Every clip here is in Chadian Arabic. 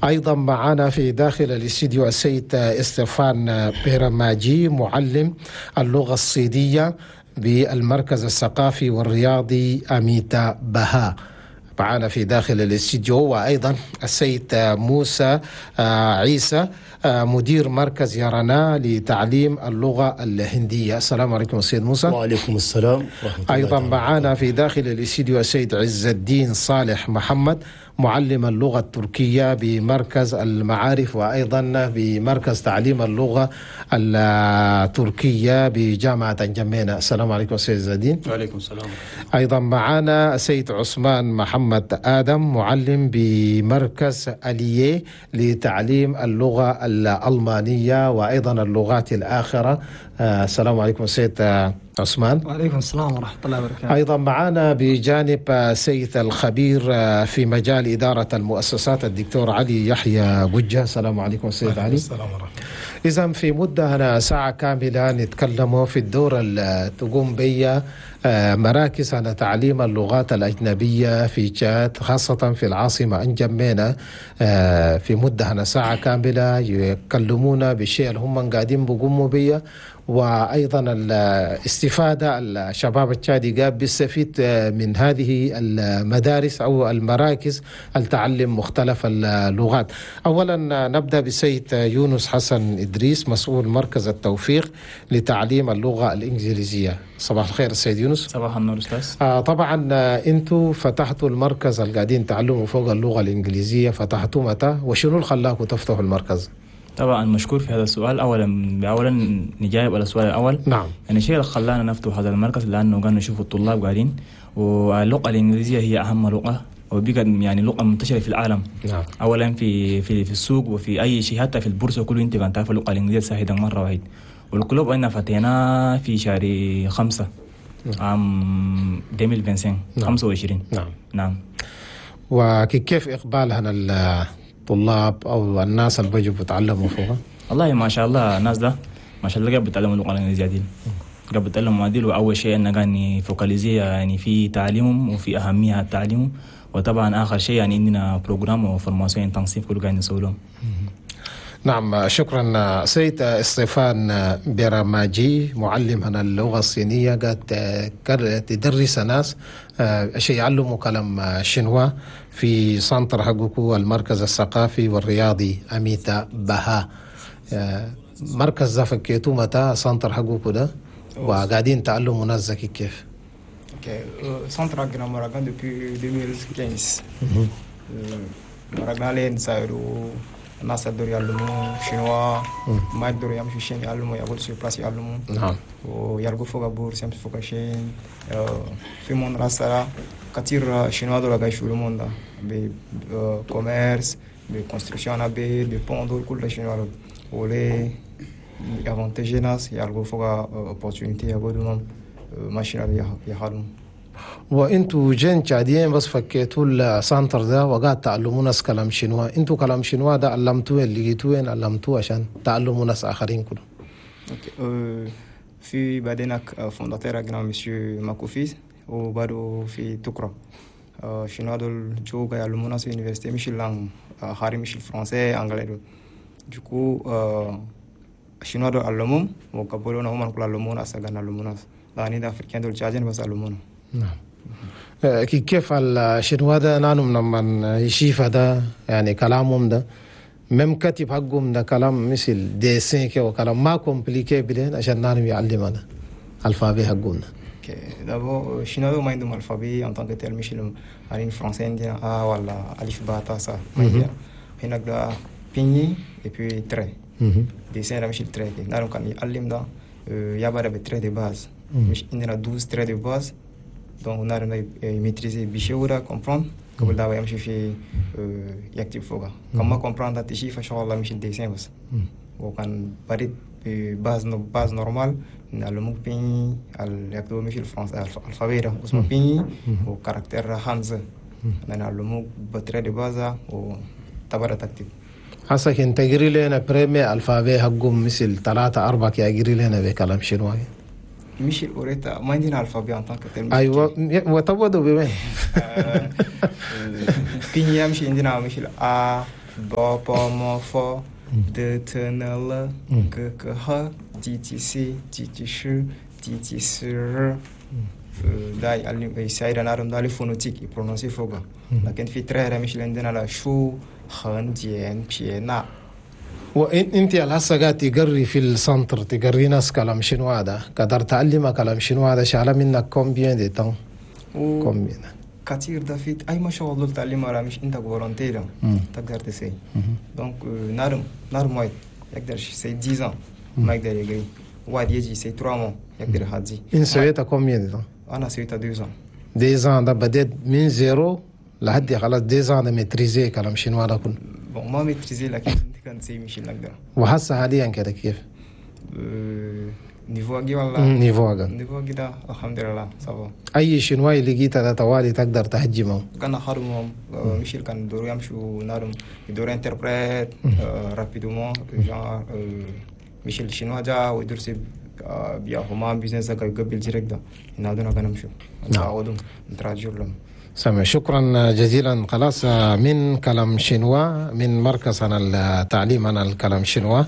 أيضا معنا في داخل الاستديو السيد استفان بيرماجي، معلم اللغة الصينية بالمركز الثقافي والرياضي أميتا بها، معنا في داخل الاستديو. وأيضا السيد موسى عيسى، مدير مركز يرانا لتعليم اللغة الهندية. السلام عليكم السيد موسى. وعليكم السلام ورحمة الله. أيضا معنا في داخل الاستديو السيد عز الدين صالح محمد، معلم اللغة التركية بمركز المعارف وأيضا بمركز تعليم اللغة التركية بجامعة انجمينا. السلام عليكم السيد عز الدين. وعليكم السلام. أيضا معنا السيد عثمان محمد آدم، معلم بمركز أليي لتعليم اللغة الألمانية وأيضا اللغات الآخرة. السلام عليكم السيد عثمان. وعليكم السلام ورحمة الله وبركاته. أيضا معنا بجانب سيد الخبير في مجال إدارة المؤسسات الدكتور علي يحيى بجة. السلام عليكم السيد علي. السلام ورحمة الله. إذا في مدة هنا ساعة كاملة نتكلم في الدور اللي تقوم بي مراكز على تعليم اللغات الأجنبية في تشاد، خاصة في العاصمة أنجمينا. في مدة هنا ساعة كاملة يكلمونا بالشيء اللي هم قاعدين بيقوموا بيه، وأيضا الاستفادة الشباب التشادي قاعد بيستفيد من هذه المدارس أو المراكز التعلم مختلف اللغات. أولا نبدأ بالسيد يونس حسن إدريس، مسؤول مركز التوفيق لتعليم اللغة الإنجليزية. صباح الخير السيد يونس. صباح النور أستاذ. طبعا أنتوا فتحتوا المركز اللي قاعدين تعلموا فوق اللغة الإنجليزية، فتحتوا متى وشنو اللي خلاكم تفتحوا المركز؟ طبعا مشكور في هذا السؤال. اولا نجاوب على السؤال الاول. نعم. يعني الشيء اللي خلانا نفتح هذا المركز لانه قالوا نشوف الطلاب قاعدين، واللغة الانجليزية هي اهم لغة وبقت يعني لغة منتشرة في العالم. نعم. اولا في في في السوق وفي اي شيء، حتى في البورصة كله انت كان تعرف اللغة الانجليزية سهلة مرة واحد. وال club انا فتحناه في شهر 5 عام 2025. نعم. 25. نعم. نعم. وكيف اقبال هنا الطلاب او الناس اللي بيجوا بيتعلموا فوقها؟ والله ما شاء الله الناس ده ما شاء الله قاعد بيتعلموا اللغة الانجليزية دي، قاعد بيتعلموا عديل. واول شيء انه كان focaliser يعني في تعليمهم وفي اهمية تعليمهم، وطبعا اخر شيء يعني عندنا programme و formation intensive كله قاعد نسوي لهم. نعم شكرا. سيد استيفان بيراماجي، معلم هنا اللغة الصينية، قاعد تدرس ناس شيء يعلموا كلام شنوا في centre حقكو المركز الثقافي والرياضي أميتا بها. مركز ده فكيتو متى centre حقكو ده وقاعدين تعلموا ناس زكي كيف؟ OK, centre حقنا مراقان depuis 2015. مراقنا لين سايرو الناس يقدروا يعلموا chinois، ما يقدروا يمشوا شين يعلموا، يقعدوا sur place يعلموا. نعم. ويلقوا فوق bourse يمشوا فوق شين. في monde راسا كثير chinois دول قاعد يشغلوا monde ب commerce ب construction ب de pont دول كل chinois ولي avantage ناس يلقوا فوق opportunité يقعدوا ما chinois يحلموا. وانتوا jeunes تشاديين بس فكيتوا ال centre ده وقعد تعلموا ناس كلام شنوا، انتوا كلام شنوا ده علمتوه اللي لقيتوه وين علمتوه عشان تعلموا ناس اخرين كلهم؟ OK. في بعدين fondateur حقنا مسيو ماكوفيز وبعده في تكرا chinois دول جو قاعد يعلموا ناس في université مش ال langue خارج مش ال français anglais دول. Du coup chinois دول علموهم وقبلونا هم كل علمونا هسه قاعد نعلموا ناس لاني ده africain دول تشادين بس علمونا. نعم. كيف الشنوا ده نانم لما يشيف ده يعني كلامهم ده même كتب حقهم ده كلام مثل dessin كي وكلام ما compliqué بلين عشان نانم يعلمنا alphabet حقهم. OK. D'abord, chinois ما عندهم alphabet en tant que tel مش يعني français عندنا A ولا ألف باء تاء ثاء ما عندنا. هناك ده pinyin et puis trait. Dessin ده مش ال trait نانم كان يعلم ده يبقى ب trait de base مش عندنا 12 traits de base. Donc نعرف maîtriser بشورة comprendre قبل ده يمشي في يكتب فوقها كما comprendre تشيف إن شاء الله مش ال dessin بس. وكان بريد base normale نعلموك pinyin يكتبوا مش الفرنسا alphabet ده اسمه pinyin و caractère hanzi نعلموك ب traits de base وتبرا تكتب. هسه كنت تقري لنا premier alphabet حقهم مثل 3 4 كي اقري لنا بكلام شنو؟ مش اوريتا ما عندنا alphabet en tant que tel. ايوه وتبدو بوين؟ pinyin مش عندنا مش ا B P M F D T N L G K H D T C T T Sh T T S R. ده يساعد نعرف ده phonétique ي prononcer فوقه. لكن في trait مش اللي عندنا لا شو خن جين بي نا. وانت هسه قاعد تقري في ال centre، تقري ناس كلام شنو هذا؟ قدر تعلمها كلام شنو هذا؟ شغله منك combien de temps؟ combien؟ كثير ده في اي ما شغل دول تعليم راه مش انت volontaire تقدر تسي. donc نارم واحد يقدر سي 10 ما يقدر يقري، واحد يجي سي 3 mois يقدر يهدي. انت سويتها combien de temps؟ انا سويتها 2 ans. 2 ans ده بديت من zéro لحد خلاص 2 ans ده maîtriser كلام شنو هذا كله؟ bon ما maîtriser لكن كان سي مش نقدر. وهسه حاليا كده كيف؟ niveau اجي ولا niveau اجي niveau اجي ده الحمد لله ça va. اي شنواي لقيتها ده طوالي تقدر تهجمهم؟ كان خارمهم مشيل كان دورو يمشوا نارم يدورو interprète rapidement genre مشيل شنوا جا ويدرس بيا هما business قبل direct ده ينادونا كان نمشوا نعاودهم ن traduire لهم. سامع، شكرا جزيلا. خلاص من كلام شنوا من مركز عن التعليم عن الكلام شنوا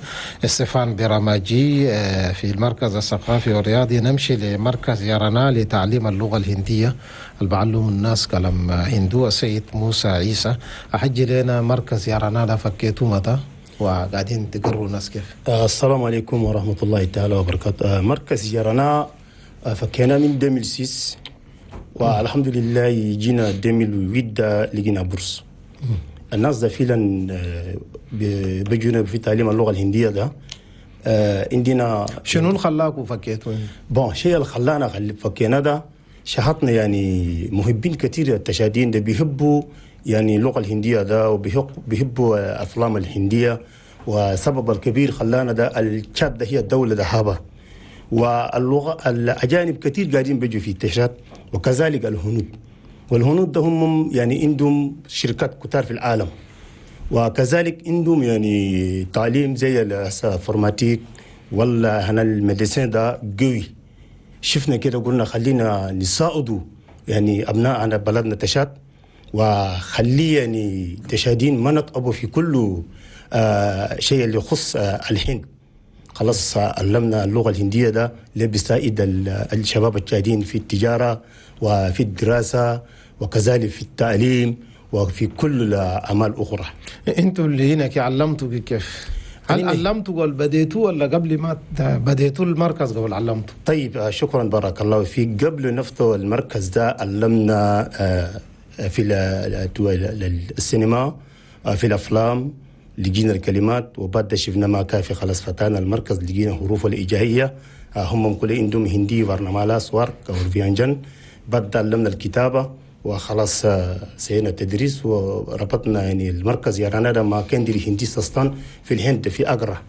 استفان براماجي في المركز الثقافي والرياضي، نمشي لمركز يرانا لتعليم اللغة الهندية اللي بعلم الناس كلام هندو، السيد موسى عيسى. أحجي لنا مركز يرانا ده فكيتو متى وقاعدين تقروا الناس كيف؟ السلام عليكم ورحمة الله تعالى وبركاته. مركز يرانا فكينا من 2006 والحمد لله يجينا 2008 لقينا bourse. الناس ده فعلا بيجونا في تعليم اللغة الهندية ده. عندنا شنو اللي خلاكم فكيتوا؟ bon شيء اللي خلانا فكينا ده شهطنا يعني محبين كثير التشادين ده بيحبوا يعني اللغة الهندية ده وبيحبوا افلام الهندية، وسبب الكبير خلانا ده التشاد ده هي الدولة ده هابه، واللغة الاجانب كثير قاعدين بيجوا في التشاد وكذلك الهنود، والهنود ده هم يعني عندهم شركات كتار في العالم، وكذلك عندهم يعني تعليم زي ال informatique ولا هنا ال médecine ده قوي. شفنا كده قلنا خلينا نساعدوا يعني ابناءنا بلدنا تشاد، وخلي يعني تشادين ما نطقبوا في كل شيء اللي يخص الهند. خلاص علمنا اللغة الهندية ده اللي بيساعد الشباب التشاديين في التجارة وفي الدراسة وكذلك في التعليم وفي كل الأعمال الأخرى. انتوا اللي هناك علمتوا كيف؟ هل علمتوا ولا بديتوا ولا قبل ما بديتوا المركز قبل علمتوا؟ طيب شكرا بارك الله فيك. قبل نفتح المركز ده علمنا في السينما في الأفلام، لقينا الكلمات، وبعد شفنا ما كافي خلاص فتانا المركز لقينا حروف الإجائية هم كل عندهم هندي varnamala svar vyanjan. بعد علمنا الكتابة وخلاص سينا التدريس وربطنا يعني المركز يرانا ده ما كان دي هندي سستان في الهند في أجرة.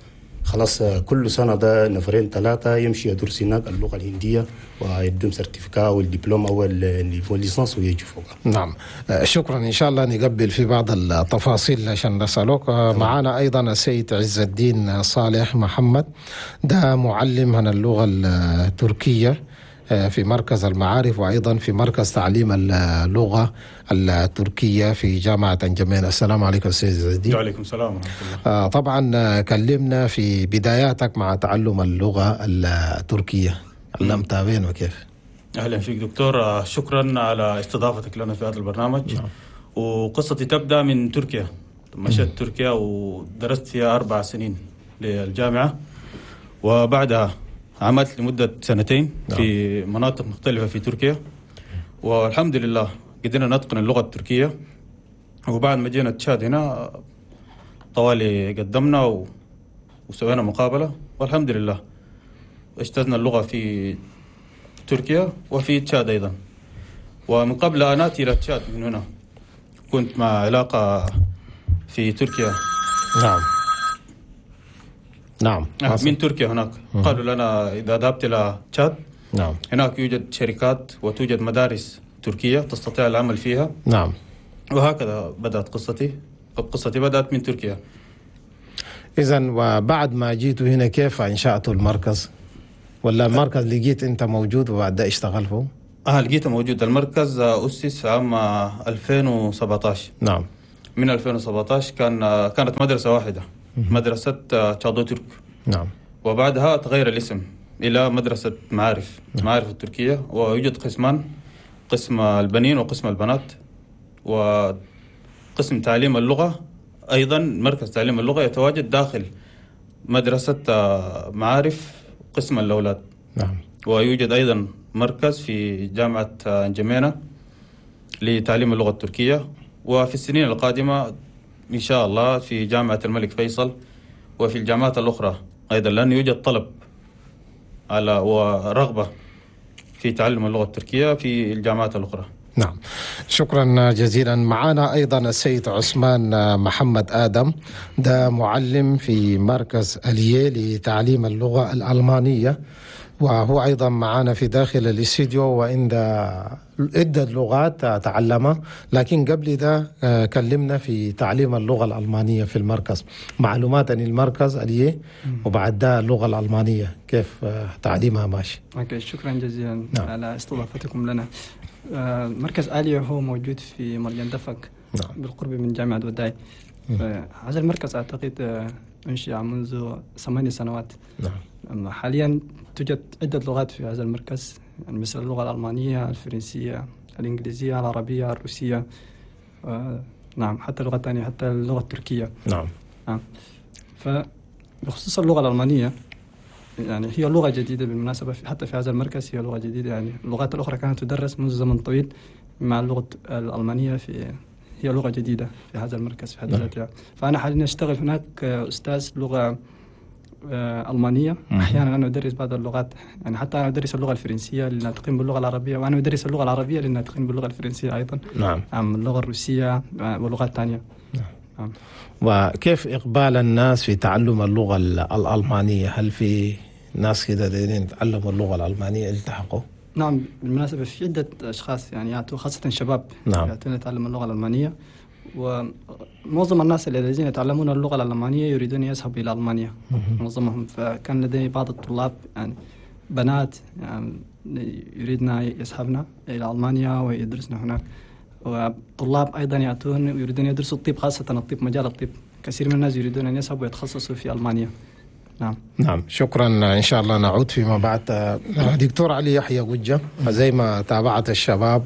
خلاص كل سنة ده نفرين ثلاثة يمشي يدرس هناك اللغة الهندية ويدوم certificat والدبلوم أو ال niveau licence ويجي فوق. نعم شكرا. إن شاء الله نقبل في بعض التفاصيل عشان نسألوك. معنا أيضا السيد عز الدين صالح محمد، ده معلم عن اللغة التركية في مركز المعارف وأيضا في مركز تعليم اللغة التركية في جامعة أنجمين. السلام عليكم سيد عز الدين. وعليكم السلام ورحمة الله. طبعا كلمنا في بداياتك مع تعلم اللغة التركية، علمتها وين وكيف؟ أهلا فيك دكتور، شكرا على استضافتك لنا في هذا البرنامج. نعم. وقصتي تبدأ من تركيا. مشيت تركيا ودرست فيها 4 سنين للجامعة، وبعدها عملت لمدة 2 سنين في مناطق مختلفة في تركيا، والحمد لله قدرنا نتقن اللغة التركية. وبعد ما جينا تشاد هنا طوالي قدمنا وسوينا مقابلة، والحمد لله اجتزنا اللغة في تركيا وفي تشاد أيضا. ومن قبل أن آتي إلى تشاد من هنا كنت مع علاقة في تركيا. نعم نعم، من تركيا هناك قالوا لنا إذا ذهبت إلى تشاد نعم هناك يوجد شركات وتوجد مدارس تركية تستطيع العمل فيها. نعم. وهكذا بدأت قصتي. قصتي بدأت من تركيا. إذن وبعد ما جيت هنا كيف أنشأت المركز؟ ولا المركز لقيت أنت موجود وبعد ده اشتغل فيه؟ لقيته موجود. المركز أسس عام 2017. نعم. من 2017 كانت مدرسة واحدة، مدرسة تشادو ترك. نعم. وبعدها تغير الاسم إلى مدرسة معارف. نعم. معارف التركية. ويوجد قسمان، قسم البنين وقسم البنات، وقسم تعليم اللغة أيضا. مركز تعليم اللغة يتواجد داخل مدرسة معارف قسم الأولاد. نعم. ويوجد أيضا مركز في جامعة انجمينا لتعليم اللغة التركية، وفي السنين القادمة إن شاء الله في جامعة الملك فيصل وفي الجامعات الأخرى أيضا، لأن يوجد طلب على ورغبة في تعلم اللغة التركية في الجامعات الأخرى. نعم، شكرا جزيلا. معنا أيضا السيد عثمان محمد آدم، ده معلم في مركز أليه لتعليم اللغة الألمانية، وهو أيضا معنا في داخل الاستديو، وعند عدة لغات تعلمها. لكن قبل ده كلمنا في تعليم اللغة الألمانية في المركز، معلومات عن المركز أليه، وبعد ده اللغة الألمانية كيف تعليمها ماشي. okay، شكرا جزيلا. نعم. على استضافتكم لنا. مركز آلية هو موجود في مرجان دفك. نعم. بالقرب من جامعة وداي. هذا المركز أعتقد أنشئ منذ 8 سنوات. نعم. حاليا توجد عدة لغات في هذا المركز، يعني مثل اللغة الألمانية، الفرنسية، الإنجليزية، العربية، الروسية، نعم، حتى لغة ثانية، حتى اللغة التركية. نعم. نعم. فبخصوص اللغة الألمانية، يعني هي لغة جديدة بالمناسبة، حتى في هذا المركز هي لغة جديدة. يعني اللغات الأخرى كانت تدرس منذ زمن طويل، مع اللغة الألمانية هي لغة جديدة في هذا المركز في حد ذاتها. فأنا حاليا أشتغل هناك أستاذ لغة ألمانية. أحيانا أنا أدرس بعض اللغات، يعني حتى أنا أدرس اللغة الفرنسية للناطقين باللغة العربية، وأنا أدرس اللغة العربية للناطقين باللغة الفرنسية أيضا. نعم. اللغة الروسية ولغات ثانية. نعم. وكيف إقبال الناس في تعلم اللغة الألمانية؟ هل في ناس كده دايرين يتعلموا اللغة الألمانية التحقوا؟ نعم، بالمناسبة في عدة أشخاص يعني يأتوا، خاصة شباب. نعم. يأتون يتعلموا اللغة الألمانية، ومعظم الناس الذين يتعلمون اللغة الألمانية يريدون يذهبوا إلى ألمانيا معظمهم. فكان لدي بعض الطلاب يعني بنات يعني يريدن يذهبن إلى ألمانيا ويدرسن هناك، وطلاب أيضا يأتون ويريدون يدرسوا الطب، خاصة الطب، مجال الطب. كثير من الناس يريدون أن يذهبوا ويتخصصوا في ألمانيا. نعم. نعم، شكرا. إن شاء الله نعود فيما بعد. دكتور علي يحيى قجة، زي ما تابعت الشباب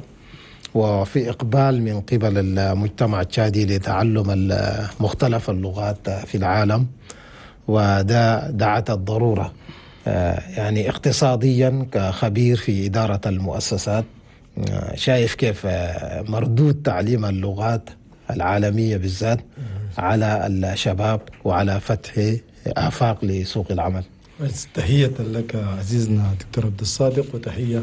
وفي إقبال من قبل المجتمع التشادي لتعلم مختلف اللغات في العالم، وده دعت الضرورة يعني اقتصاديا كخبير في إدارة المؤسسات، شايف كيف مردود تعليم اللغات العالمية بالذات على الشباب وعلى فتح آفاق لسوق العمل؟ تحية لك عزيزنا دكتور عبد الصادق، وتحية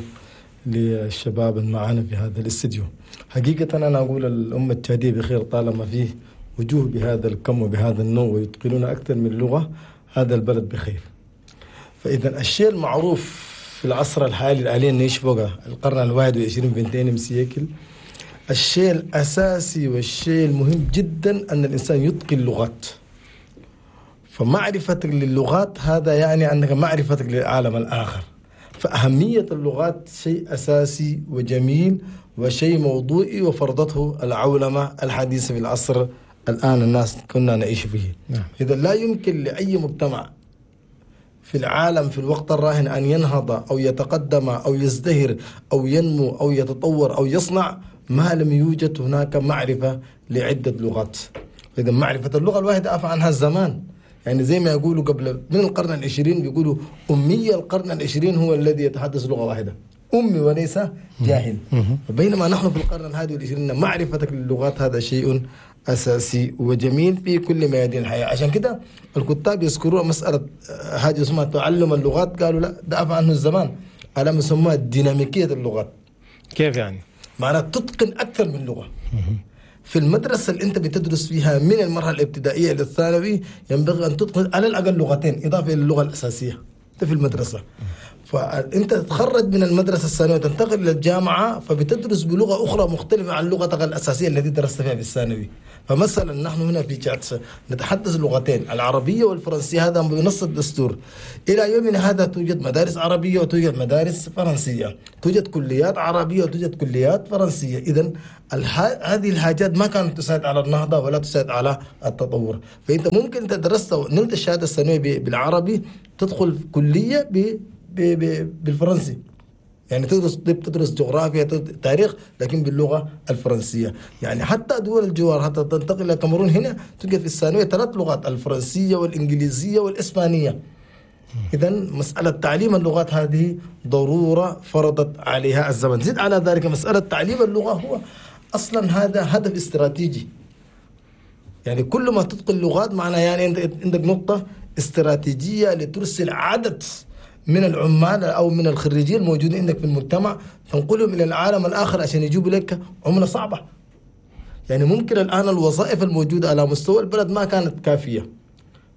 للشباب معنا في هذا الاستديو. حقيقة أنا أقول الأمة التشادية بخير طالما فيه وجوه بهذا الكم وبهذا النوع ويتقنون أكثر من لغة، هذا البلد بخير. فإذا الشيء المعروف في العصر الحالي الآلي نعيش فوقه القرن 21 بنتين مسيكل، الشيء الأساسي والشيء المهم جدا أن الإنسان يتقن اللغات. فمعرفتك للغات هذا يعني أنك معرفتك للعالم الآخر. فأهمية اللغات شيء أساسي وجميل وشيء موضوعي وفرضته العولمة الحديثة في العصر الآن الناس كنا نعيش فيه. نعم. إذا لا يمكن لأي مجتمع في العالم في الوقت الراهن أن ينهض أو يتقدم أو يزدهر أو ينمو أو يتطور أو يصنع ما لم يوجد هناك معرفة لعدة لغات. إذا معرفة اللغة الواحدة أعفى عنها الزمان. يعني زي ما يقولوا قبل من القرن العشرين بيقولوا أمية القرن العشرين هو الذي يتحدث لغة واحدة، أمي وليس جاهل. بينما نحن في القرن 21 معرفتك للغات هذا شيء أساسي وجميل في كل ميادين الحياة. عشان كده الكتاب يذكرون مسألة حاجة اسمها تعلم اللغات، قالوا لا ده عفى عنه الزمان، على ما يسموها ديناميكية اللغات. كيف يعني؟ معناها تتقن أكثر من لغة. في المدرسة اللي أنت بتدرس فيها من المرحلة الابتدائية إلى الثانوي ينبغي أن تتقن على الأقل لغتين إضافة إلى اللغة الأساسية. أنت في المدرسة، فأنت تتخرج من المدرسة الثانوية وتنتقل إلى الجامعة، فبتدرس بلغة أخرى مختلفة عن لغتك الأساسية التي درست فيها في الثانوي. فمثلا نحن هنا في تشاد نتحدث لغتين، العربية والفرنسية، هذا بنص الدستور. إلى يومنا هذا توجد مدارس عربية وتوجد مدارس فرنسية، توجد كليات عربية وتوجد كليات فرنسية. إذن هذه الحاجات ما كانت تساعد على النهضة ولا تساعد على التطور. فأنت ممكن تدرست ونلت الشهادة الثانوية بالعربي، تدخل كلية بالفرنسي، يعني تدرس طب، تدرس جغرافيا، تاريخ، لكن باللغة الفرنسية. يعني حتى دول الجوار، حتى تنتقل إلى الكاميرون، هنا توجد في الثانوية 3 لغات، الفرنسية والإنجليزية والإسبانية. إذن مسألة تعليم اللغات هذه ضرورة فرضت عليها الزمن. زد على ذلك مسألة تعليم اللغة هو أصلا هذا هدف استراتيجي. يعني كل ما تتقن لغات معناه يعني أنت عندك نقطة استراتيجية لترسل عدد من العمال أو من الخريجين الموجودين عندك في المجتمع، تنقلهم إلى العالم الآخر عشان يجيبوا لك عملة صعبة. يعني ممكن الآن الوظائف الموجودة على مستوى البلد ما كانت كافية،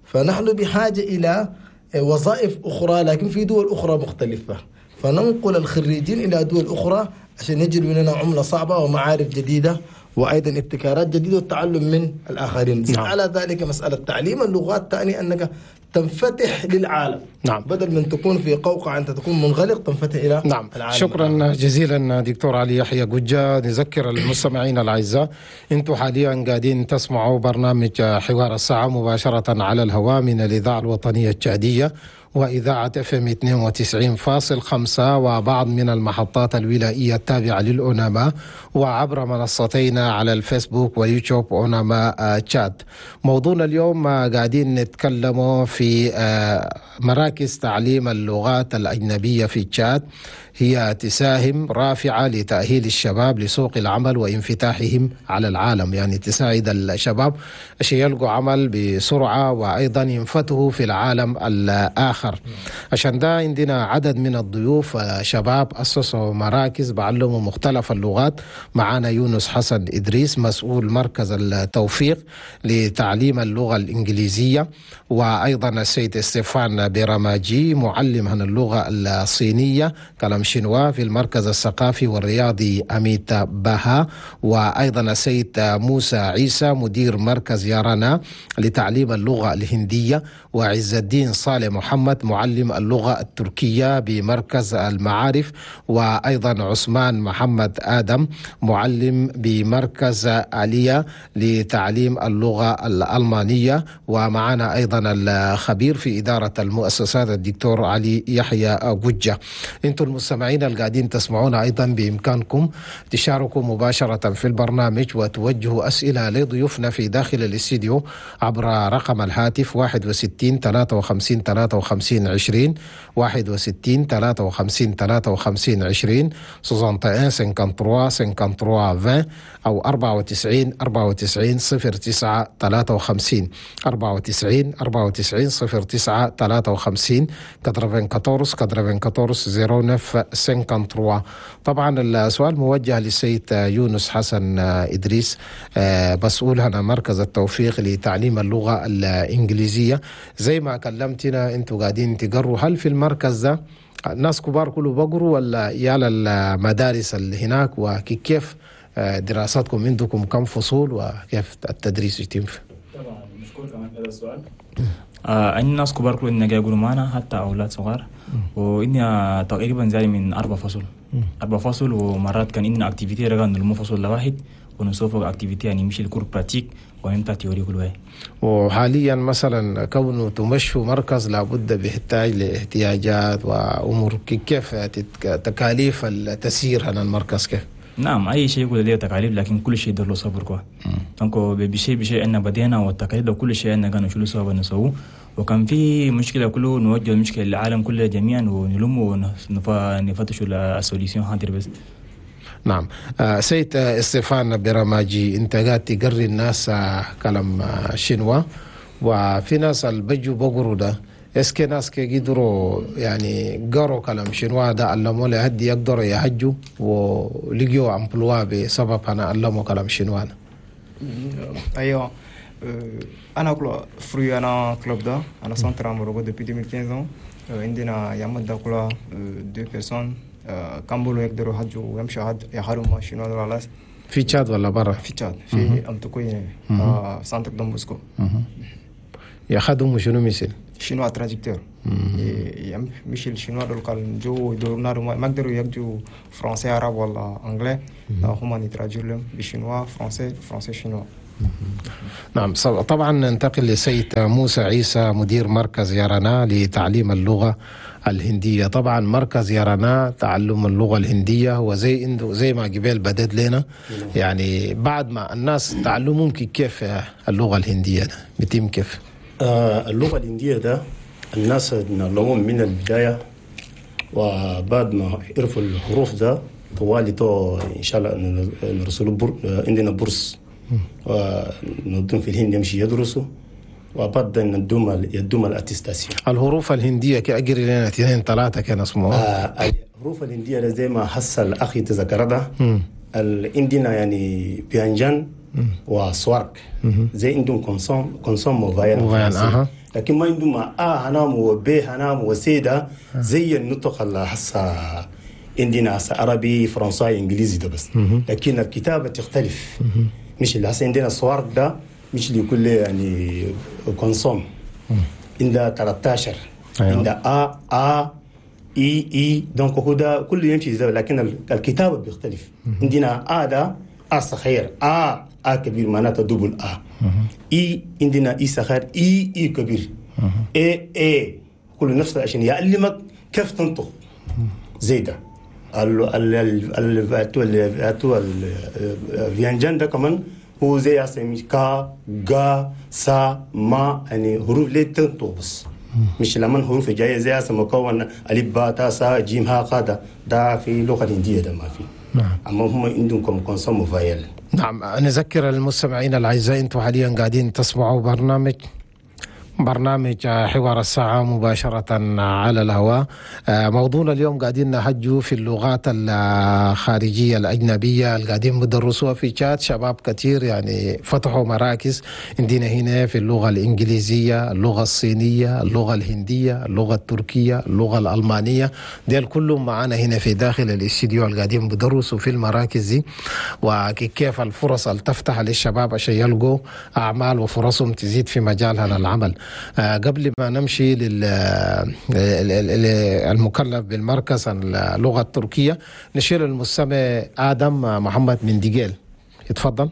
فنحن بحاجة إلى وظائف أخرى لكن في دول أخرى مختلفة، فننقل الخريجين إلى دول أخرى عشان يجدوا لنا عملة صعبة ومعارف جديدة وأيضا ابتكارات جديدة والتعلم من الآخرين. نعم. على ذلك مسألة تعليم اللغات تعني أنك تنفتح للعالم. نعم. بدل من تكون في قوقعة أنت تكون منغلق، تنفتح إلى نعم. العالم. شكرا جزيلا دكتور علي يحيى قجة. نذكر المستمعين الأعزاء أنتم حاليا قاعدين تسمعوا برنامج حوار الساعة مباشرة على الهواء من الإذاعة الوطنية التشادية وإذاعة FM 92.5 وبعض من المحطات الولائية التابعة للأوناما، وعبر منصتينا على الفيسبوك ويوتيوب أوناما تشاد. موضوعنا اليوم قاعدين نتكلم في مراكز تعليم اللغات الأجنبية في تشاد، هي تساهم رافعة لتأهيل الشباب لسوق العمل وانفتاحهم على العالم، يعني تساعد الشباب عشان يلقوا عمل بسرعة وأيضا ينفتحوا في العالم الآخر. عشان ده عندنا عدد من الضيوف شباب أسسوا مراكز بعلموا مختلف اللغات. معانا يونس حسن إدريس مسؤول مركز التوفيق لتعليم اللغة الإنجليزية، وأيضا السيد ستيفان بيراماجي معلم عن اللغة الصينية كلام شينوا في المركز الثقافي والرياضي أميت باها، وأيضا السيد موسى عيسى مدير مركز يارانا لتعليم اللغة الهندية، وعز الدين صالح محمد معلم اللغة التركية بمركز المعارف، وأيضا عثمان محمد آدم معلم بمركز آلية لتعليم اللغة الألمانية، ومعنا أيضا الخبير في إدارة المؤسسات الدكتور علي يحيى قجة. أنتم المستمعين القاعدين تسمعونا أيضا بإمكانكم تشاركوا مباشرة في البرنامج وتوجهوا أسئلة لضيوفنا في داخل الاستديو عبر رقم الهاتف 61 53 53 20 61 53 53 20 61 53 53 20 أو 94 94 09 53 94 94 09 53 94 94 09 53. طبعا السؤال موجه للسيد يونس حسن إدريس مسؤول هنا مركز التوفيق لتعليم اللغة الإنجليزية. زي ما كلمتنا انتوا قاعدين تقروا، هل في المركز ده ناس كبار كله بقروا ولا يالا المدارس اللي هناك، وكيف دراستكم عندكم كم فصول وكيف التدريس يتم؟ طبعا مشكور كمان هذا السؤال. عندنا ناس كبار كل إننا يقولوا معنا حتى أولاد صغار، وإني تقريبا زي من 4 فصول 4 فصول، ومرات كان عندنا activité رجع نلمو فصل لواحد ونسوف activité يعني مش ال cours pratique ونمتع théorie كل واحد. وحاليا مثلا كونه تمشوا مركز لابد بيحتاج لاحتياجات وأمور، كيف تكاليف التسيير هنا المركز كيف؟ نعم أي شيء يقول ليه تكاليف، لكن كل شيء له صبر كوا. donc بشيء بشيء أن بدينا والتكاليف كل شيء أن كانوا شلوا سوا نسوه، وكان في مشكلة كله نوجه المشكلة للعالم كله جميعا ونلم ونفتشوا ال solution هاتر بس. نعم. سيد ستيفان بيراماجي، انت قاعد تقري الناس كلام شنوا، وفي ناس البجو بقروا ده est-ce que ناس كي قدروا يعني قروا كلام شنوا ده علموا لهدي يقدروا يهجوا ولقيوا emploi بسبب انا علموا كلام شنوا. ايوه انا كل fruit انا club ده انا centre امورو depuis 2015. عندنا يامد ده كل 2 personnes كامبولو يقدروا يهجوا ويمشوا يحاروا ما شنوا ده خلاص. في تشاد ولا برا؟ في تشاد، في أمتكوين centre Don Bosco. يخدموا شنو مثل؟ chinois traducteur. مش ال chinois دول كان جو يدورنا ما قدروا يجوا français عرب ولا anglais، هما ن traduire لهم ب chinois français français chinois. نعم. طبعا ننتقل لسيد موسى عيسى مدير مركز يرانا لتعليم اللغة الهندية. طبعا مركز يرانا تعلم اللغة الهندية هو زي ما قبل بدت لنا، يعني بعد ما الناس تعلموا ممكن كيف اللغة الهندية ده بتم كيف؟ اللغة الهندية ده الناس نعلمهم من البداية، وبعد ما عرفوا الحروف ده طوالي تو إن شاء الله نرسلوا عندنا bourse ونودون في الهند يمشي يدرسوا، وبعد ندوم يدوم ال attestation. الحروف الهندية كأجري لنا 2 3 كان اسمه. الحروف الهندية زي ما حصل أخي تذكر ده عندنا يعني vyanjan و swarg زي عندهم consonne و voyelle، لكن ما عندهم أ هنام وب هنام وسيدة زي النطق اللي حصل عندنا عربي فرنساوي إنجليزي ده بس، لكن الكتابة تختلف. مش اللي هسه عندنا swarg ده مش اللي كله يعني consonne عندها 13. أيوة. عندها أ أ إي إي donc هو ده كله يمشي زي، لكن الكتابة بيختلف. عندنا أ ده أ صغير أ أ كبير معناته double A، إي عندنا إي صغير إي إي كبير، إي إي كله نفس عشان يعلمك كيف تنطق زي ده. ال vyanjan ده كمان هو زي اسمي كا غا سا ما، يعني حروف ليه تنطق بس، مش لما حروف جايه زي اسم مكون الف با تا سا جيم ها قا ده في اللغه الهنديه ده ما في. نعم. اما هم عندهم consonne voyelle. نعم. نذكر المستمعين الاعزاء انتم حاليا قاعدين تسمعوا برنامج حوار الساعة مباشرة على الهواء. موضوعنا اليوم قاعدين نحجوا في اللغات الخارجية الأجنبية اللي قاعدين بدرسوها في تشاد. شباب كثير يعني فتحوا مراكز عندنا هنا في اللغة الإنجليزية، اللغة الصينية، اللغة الهندية، اللغة التركية، اللغة الألمانية، ديل كلهم معانا هنا في داخل الاستديو اللي قاعدين بدرسوا في المراكز دي، وكيف الفرص اللي تفتح للشباب عشان يلقوا أعمال وفرصهم تزيد في مجال هذا العمل. قبل ما نمشي للمكلف بالمركز اللغة التركية نشير المستمع آدم محمد من ديجيل. يتفضل.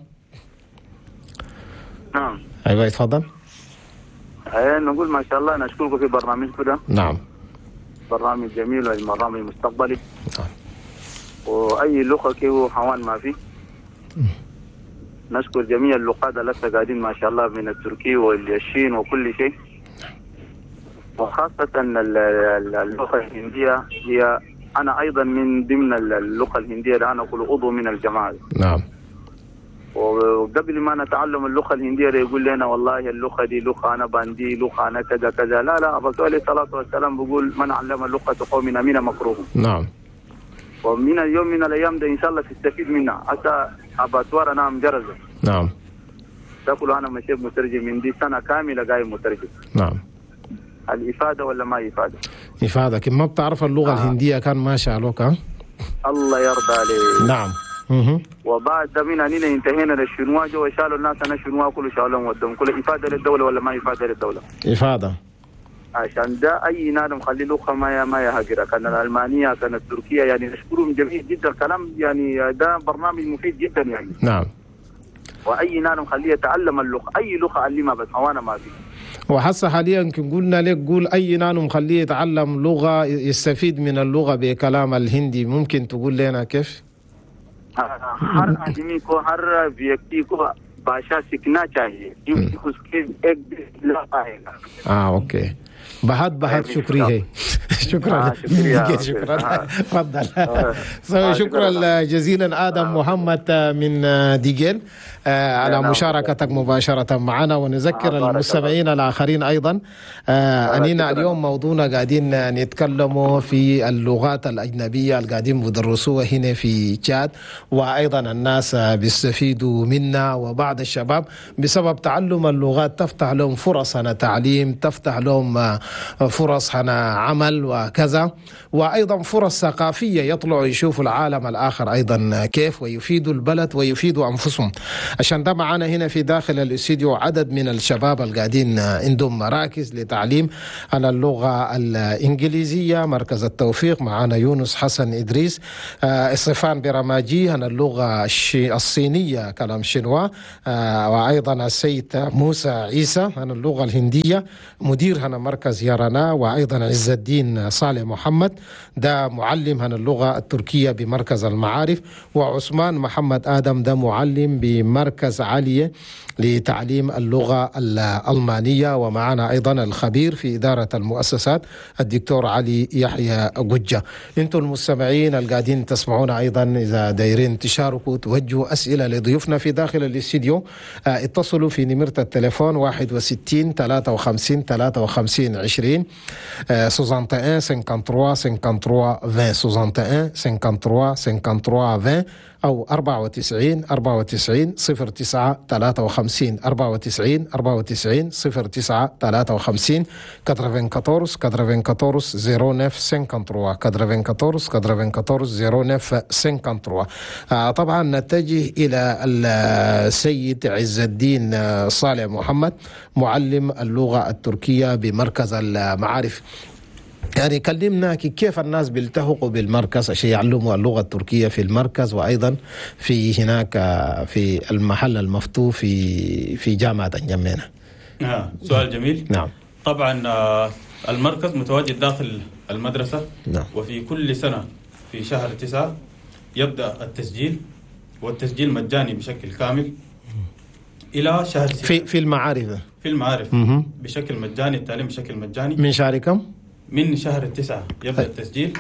نعم. أيوة يتفضل. نقول ما شاء الله نشكركم في برنامجكم ده. نعم. برنامج جميل وبرنامج مستقبلي. نعم. وأي لغة كيو حوان ما فيه. نشكر جميع اللقاء لسه قاعدين ما شاء الله من التركي والشين وكل شيء، وخاصة اللغة الهندية هي أنا أيضا من ضمن اللغة الهندية، أنا أقول عضو من الجماعة. نعم. وقبل ما نتعلم اللغة الهندية يقول لنا والله اللغة دي لغة أنا باندي لغة أنا كذا كذا، لا لا، الرسول عليه الصلاة والسلام بيقول من علم لغة قوم أمين مكروه. نعم. ومن اليوم من الأيام ده إن شاء الله تستفيد منها. حتى أباتوار أنا مجرزة. نعم. تقول أنا مشيت مترجم من دي سنة كاملة جاي مترجم. نعم. الإفادة ولا ما إفادة؟ إفادة، كم ما بتعرف اللغة الهندية كان ما شالوك. الله يرضى عليك. نعم. وبعد من أننا انتهينا للشنوا جو شالوا الناس أنا شنوا كله شالوهم ودهم كله. إفادة للدولة ولا ما إفادة للدولة؟ إفادة. عشان ده أي نادم خلي لغة ما يهاجرها، كان الألمانية كان التركية، يعني نشكرهم جميل جدا. كلام يعني ده برنامج مفيد جدا يعني. نعم. وأي نادم خليه يتعلم اللغة، أي لغة علمها بس هوانا ما في. وحسا حاليا يمكن قلنا لك قول أي نانو مخليه يتعلم لغة يستفيد من اللغة بكلام الهندي، ممكن تقول لنا كيف؟ हर आदमी को हर व्यक्ति को भाषा सीखना चाहिए क्योंकि उसके एक दिन आएगा. اوكي. بهات بهات شكري هي. شكرا شكرا. تفضل. شكرا جزيلا آدم محمد من ديجيل على مشاركتك مباشرة معنا، ونذكر المستمعين الآخرين أيضا أننا اليوم موضوعنا قاعدين نتكلموا في اللغات الأجنبية اللي قاعدين بدرسوها هنا في تشاد، وأيضا الناس بيستفيدوا منا، وبعض الشباب بسبب تعلم اللغات تفتح لهم فرص هنا تعليم، تفتح لهم فرص هنا عمل، وكذا، وأيضا فرص ثقافية يطلعوا يشوفوا العالم الآخر أيضا كيف، ويفيدوا البلد ويفيدوا أنفسهم. عشان ده معانا هنا في داخل الاستديو عدد من الشباب القاعدين عندهم مراكز لتعليم على اللغة الإنجليزية. مركز التوفيق معانا يونس حسن إدريس، الصفان برماجي عن اللغة الصينية كلام شنوا، وأيضا السيد موسى عيسى عن اللغة الهندية مدير هنا مركز يرانا، وأيضا عز الدين صالح محمد ده معلم عن اللغة التركية بمركز المعارف، وعثمان محمد آدم ده معلم بمركز عالية لتعليم اللغة الألمانية، ومعنا أيضا الخبير في إدارة المؤسسات الدكتور علي يحيى قجة. أنتم المستمعين القاعدين تسمعونا أيضا إذا دايرين تشاركوا توجهوا أسئلة لضيوفنا في داخل الاستديو، اتصلوا في نمرة التليفون 61 53 53 20 61 53 53 20 61 53 53 20 أو 94 94 09 53 94 94 09 53 94 94 09 53 94 94 09 53. طبعا نتجه إلى السيد عز الدين صالح محمد معلم اللغة التركية بمركز المعارف. يعني كلمنا كيف الناس بيلتحقوا بالمركز عشان يعلموا اللغة التركية في المركز، وأيضا في هناك في المحل المفتوح في جامعة انجمينا. سؤال جميل. نعم. طبعا المركز متواجد داخل المدرسة. نعم. وفي كل سنة في شهر 9 يبدأ التسجيل، والتسجيل مجاني بشكل كامل إلى شهر 6 في المعارف. في المعارف بشكل مجاني، التعليم بشكل مجاني. من شهر كم؟ من شهر 9 يبدأ التسجيل.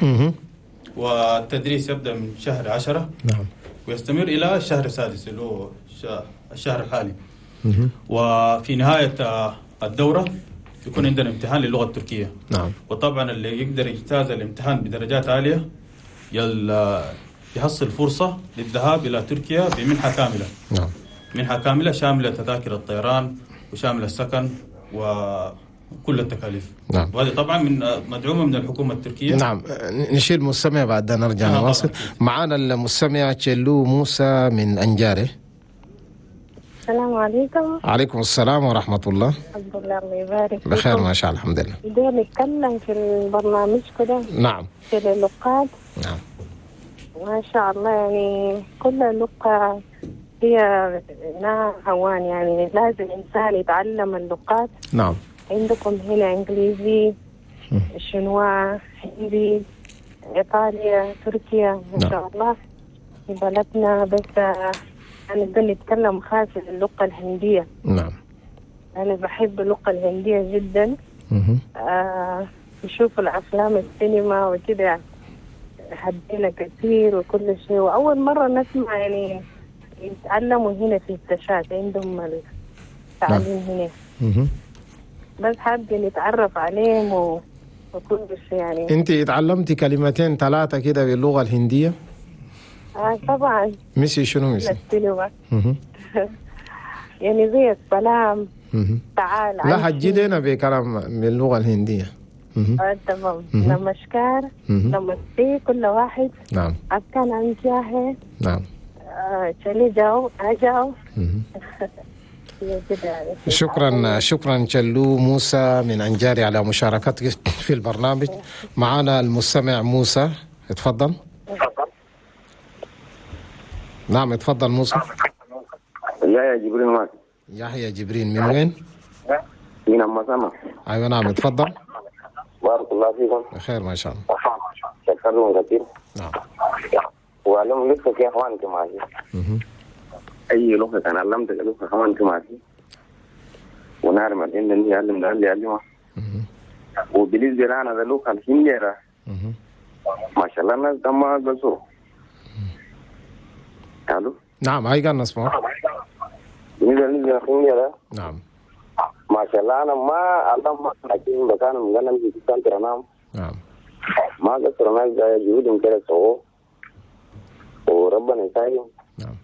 والتدريس يبدأ من شهر 10. نعم. ويستمر إلى الشهر 6 اللي هو الشهر الحالي. وفي نهاية الدورة يكون عندنا امتحان للغة التركية. نعم. وطبعا اللي يقدر يجتاز الامتحان بدرجات عالية يحصل فرصة للذهاب إلى تركيا بمنحة كاملة. نعم. منحة كاملة شاملة تذاكر الطيران وشاملة السكن وكل التكاليف. نعم. وهذه طبعا من مدعومة من الحكومة التركية. نعم. نشيل مستمع بعد نرجع نواصل. معنا المستمع تشيلو موسى من أنجاري. السلام عليكم. عليكم السلام ورحمة الله. الحمد لله، الله يبارك بخير ما شاء الله، الحمد لله. بدنا نتكلم في البرنامج كده. نعم. في اللغات. نعم. ما شاء الله، يعني كل لغة هي لها هوان، يعني لازم إنسان يتعلم اللغات. نعم. عندكم هنا إنجليزي، شنوا، هندي، إيطاليا، تركيا، ما شاء الله في بلدنا. بس أنا بنتكلم خاصة اللغة الهندية. نعم. أنا بحب اللغة الهندية جدا. بشوف الأفلام السينما وكده، حبينا كثير وكل شيء. وأول مرة نسمع يعني يتعلموا هنا في التشاد، عندهم التعليم هنا. بس حابة نتعرف عليهم وكل شيء يعني. أنت اتعلمتي كلمتين ثلاثة كده باللغة الهندية؟ طبعا. ميسي شنو ميسي؟ يعني زي السلام، تعال. لا حجي لنا بكلام باللغة الهندية. تمام. نمشكار، نمستي كل واحد. نعم. أكان أنجاه. نعم. چلي جاو أجاو. شكرا شكرا جلو موسى من أنجاري على مشاركتك في البرنامج. معنا المستمع موسى، اتفضل. نعم اتفضل موسى. يحيى جبرين معك. يحيى جبرين من وين؟ من أم. ايوه نعم اتفضل. بارك الله فيكم. بخير ما شاء الله. شكرا كثير. نعم. وعلم لسه يا اخوانك معي. اي لغه انا علمتك لغه اخوانك معي. ونعلم ان اللي يعلم ده اللي يعلمه. وبالنسبه لنا ده لغه الهنديه ما شاء الله الناس ده ما قصروا. الو. نعم هاي قال نسمع. بالنسبه للهنديه نعم ما شاء الله انا ما علم لكن بكان مغنم في سنتر نعم. نعم ما قصروا الناس جهودهم كده سووه وربنا يساعدهم. نعم.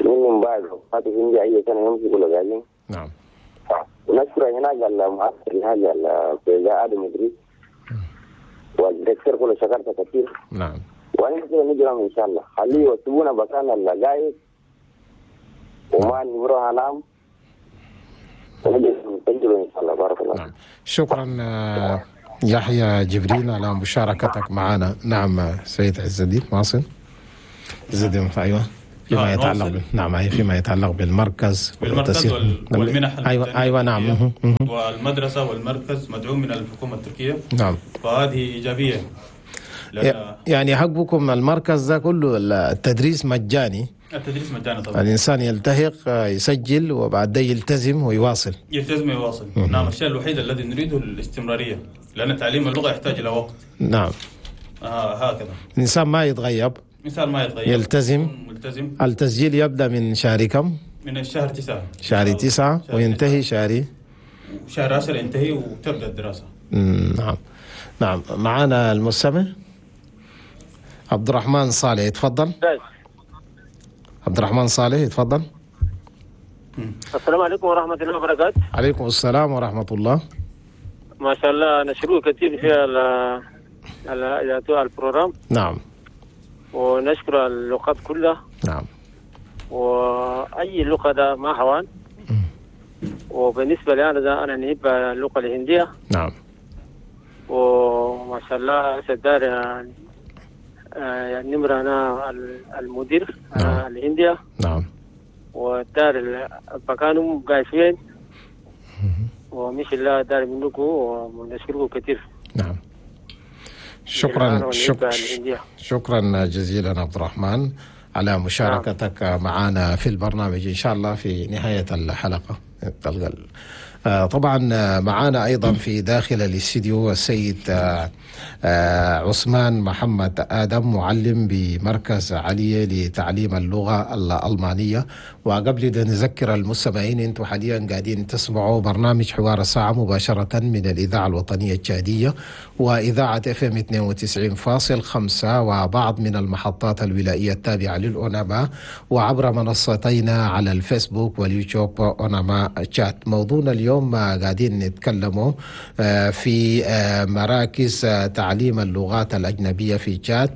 منهم بعد وقت هندي أي سنة يمشي كل قاعدين. نعم. ونشكر هناك المؤثر هناك في آدم إدريس. وال directeur كله شكرت كثير. نعم. وانا كده نجرم ان شاء الله، خليه يوسبونا بكان اللقايق وما نروح انام ونجي نسجل ان شاء الله. بارك الله. نعم. شكرا يحيى جبريل على مشاركتك معنا. نعم سيد عز الدين واصل. عز الدين ايوه فيما يتعلق نعم فيما يتعلق بالمركز والمنح. ايوه نعم. والمدرسة والمركز مدعوم من الحكومة التركية. نعم. فهذه ايجابية. يعني حقكم المركز ده كله التدريس مجاني. التدريس مجاني طبعا. الانسان يلتحق يسجل وبعد يلتزم ويواصل. يلتزم ويواصل. نعم. الشيء الوحيد الذي نريده الاستمرارية، لان تعليم اللغة يحتاج الى وقت. نعم. هكذا. الانسان ما يتغيب. الانسان ما يتغيب. يلتزم. ملتزم. التسجيل يبدا من شهر كم؟ من الشهر 9. شهر 9 وينتهي شهر 10 ينتهي وتبدا الدراسة. نعم. نعم. معنا المستمع عبد الرحمن صالح، يتفضل. عبد الرحمن صالح يتفضل. السلام عليكم ورحمة الله وبركاته. عليكم السلام ورحمة الله. ما شاء الله نشكره كثير في ال programme. نعم. ونشكر اللغات كلها. نعم. وأي لغة ده ما هوان. وبالنسبة لي أنا ده أنا نحب اللغة الهندية. نعم. وما شاء الله سدار يعني نمرة أنا المدير. نعم. الهندية. نعم. والدار بكانهم قايفين ومش الله دار منكم ونشكركم كثير. نعم. شكرا شكرا جزيلا عبد الرحمن على مشاركتك. نعم. معنا في البرنامج إن شاء الله في نهاية الحلقة تلقى. طبعا معنا أيضا في داخل الاستديو السيد عثمان محمد آدم، معلم بمركز علي لتعليم اللغة الألمانية. وقبل أن نذكر المستمعين، أنتم حاليا قاعدين تسمعوا برنامج حوار الساعة مباشرة من الإذاعة الوطنية التشادية وإذاعة FM 92.5 وبعض من المحطات الولائية التابعة للأوناما، وعبر منصتينا على الفيسبوك واليوتيوب أوناما تشات. موضوعنا اليوم قاعدين نتكلموا في مراكز تعليم اللغات الأجنبية في تشاد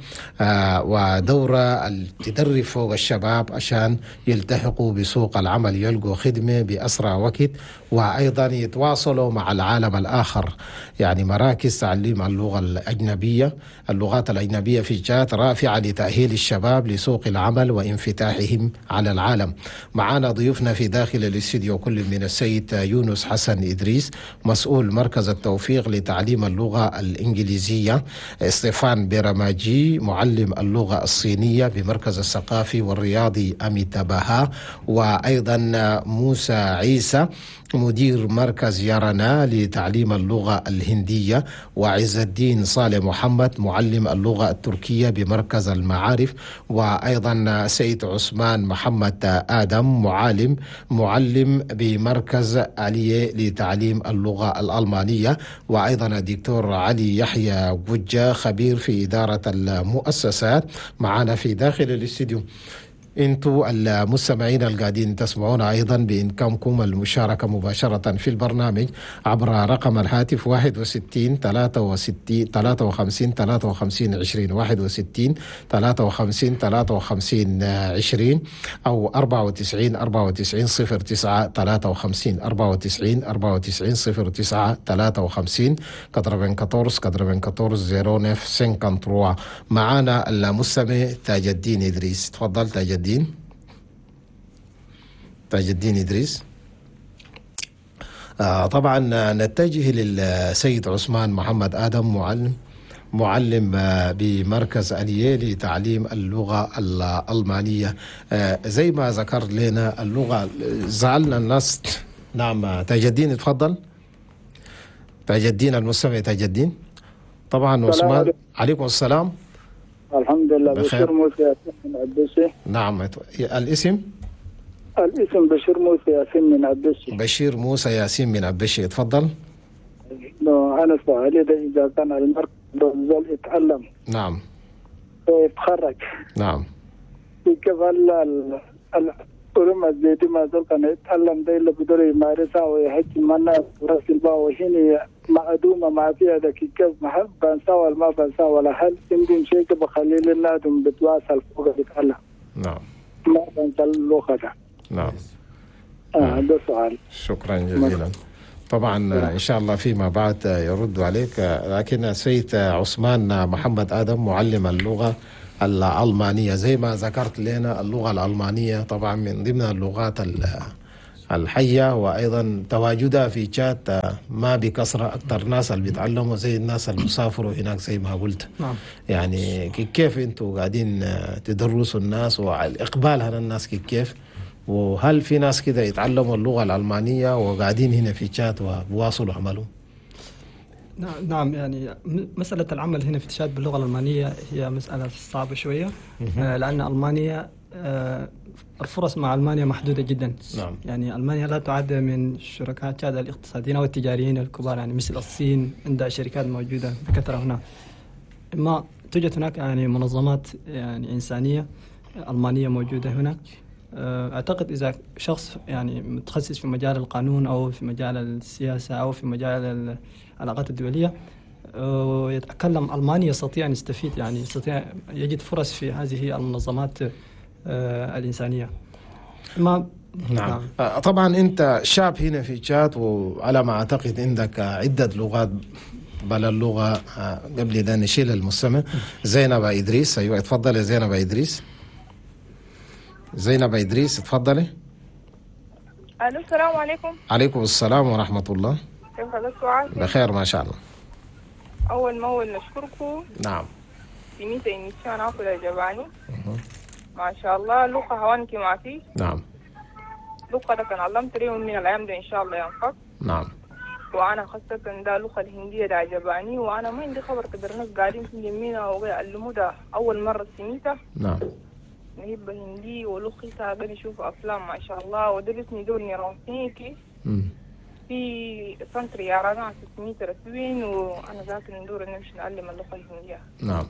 ودورة تدرب فوق الشباب عشان يلتحقوا بسوق العمل، يلقوا خدمة بأسرع وقت، وأيضا يتواصلوا مع العالم الآخر. يعني مراكز تعليم اللغة الأجنبية، اللغات الأجنبية في تشاد رافعة لتأهيل الشباب لسوق العمل وانفتاحهم على العالم. معنا ضيوفنا في داخل الاستديو كل من السيد يونس حسن إدريس، مسؤول مركز التوفيق لتعليم اللغة الإنجليزية، ستيفان بيراماجي معلم اللغة الصينية بمركز الثقافي والرياضي أميتا باها، وأيضا موسى عيسى مدير مركز يارنا لتعليم اللغة الهندية، وعز الدين صالح محمد معلم اللغة التركية بمركز المعارف، وأيضا سيد عثمان محمد آدم معلم بمركز علي لتعليم اللغة الألمانية، وأيضا الدكتور علي يحيى وجة خبير في إدارة المؤسسات معنا في داخل الاستديو. انتوا المستمعين القاعدين تسمعونا ايضا بامكانكم المشاركة مباشرة في البرنامج عبر رقم الهاتف 61 63 53 53 20 61 53 53 20 او 94 94 09 53 94 94 09 53 94 94 09 53. معانا المستمع تاج الدين ادريس، تفضل تاج الدين. تاج الدين إدريس. طبعا نتجه للسيد عثمان محمد آدم، معلم بمركز أليه لتعليم اللغة الألمانية. زي ما ذكر لنا اللغة زعلنا الناس. نعم تاج الدين تفضل. تاج الدين المستمع تاج الدين. طبعا عثمان عليكم السلام. الحمد لله. بشير موسى ياسين من عبسي. نعم الاسم؟ الاسم بشير موسى ياسين من عبسي. بشير موسى ياسين من عبسي، تفضل. أنا سؤالي ده إذا كان المركز زول يتعلم. نعم. ويتخرج. نعم. كيف العلوم الزيتي ما زال كان يتعلم ده اللي بدور يمارسها ويحج منا رأس البا وحين معدومة ما فيها ده كيف محل بنسى ولا ما بنسى ولا هل عندهم شيء بخلي لنا بتواصل فوق بيتعلم. نعم. ما بنسى اللغة ده. نعم. هذا سؤال. شكرا جزيلا. طبعا إن شاء الله فيما بعد يرد عليك، لكن السيد عثمان محمد آدم معلم اللغة الألمانية، زي ما ذكرت لنا اللغة الألمانية طبعا من ضمن اللغات الحية، وأيضا تواجدها في تشاد ما بكثرة، أكثر ناس اللي بيتعلموا زي الناس اللي بيسافروا هناك زي ما قلت. نعم. يعني كيف أنتوا قاعدين تدرسوا الناس والإقبال على الناس كيف، وهل في ناس كده يتعلموا اللغة الألمانية وقاعدين هنا في تشاد وبواصلوا عملهم؟ نعم، يعني مسألة العمل هنا في تشاد باللغة الألمانية هي مسألة صعبة شوية، لأن ألمانيا الفرص مع ألمانيا محدودة جدا. نعم. يعني ألمانيا لا تعد من شركاء تشاد الاقتصاديين أو التجاريين الكبار، يعني مثل الصين عندها شركات موجودة بكثرة هنا. ما توجد هناك يعني منظمات يعني إنسانية ألمانية موجودة هنا. أعتقد إذا شخص يعني متخصص في مجال القانون أو في مجال السياسة أو في مجال العلاقات الدولية ويتكلم ألماني يستطيع أن يستفيد، يعني يستطيع يجد فرص في هذه المنظمات الإنسانية. ما نعم. طبعا أنت شاب هنا في تشاد، وعلى ما أعتقد عندك عدة لغات بل اللغة. قبل ده نشيل المستمع زينب إدريس. أيوة اتفضل يا زينب إدريس. زينب إدريس اتفضلي. ألو السلام عليكم. عليكم السلام ورحمة الله. كيف حالك؟ بخير ما شاء الله. أول ما أول نشكركم. نعم. سميت إنيشان أكل جباني. ما شاء الله لغة هوانك ما في. نعم. لغة ده كان علمت اليوم من الأيام ده إن شاء الله ينفق. نعم. وأنا خاصة ده اللغة الهندية ده عجباني، وأنا ما عندي خبر كبر ناس قاعدين في يمينا ويعلموا ده أول مرة سميته. نعم. نهب هندي ولغتها قاعد نشوف أفلام ما شاء الله، ودرسني دورني رونسيكي في سنتر يارانا 600 رسوين، وأنا ذاك ندور نمشي نعلم اللغة الهندية. نعم.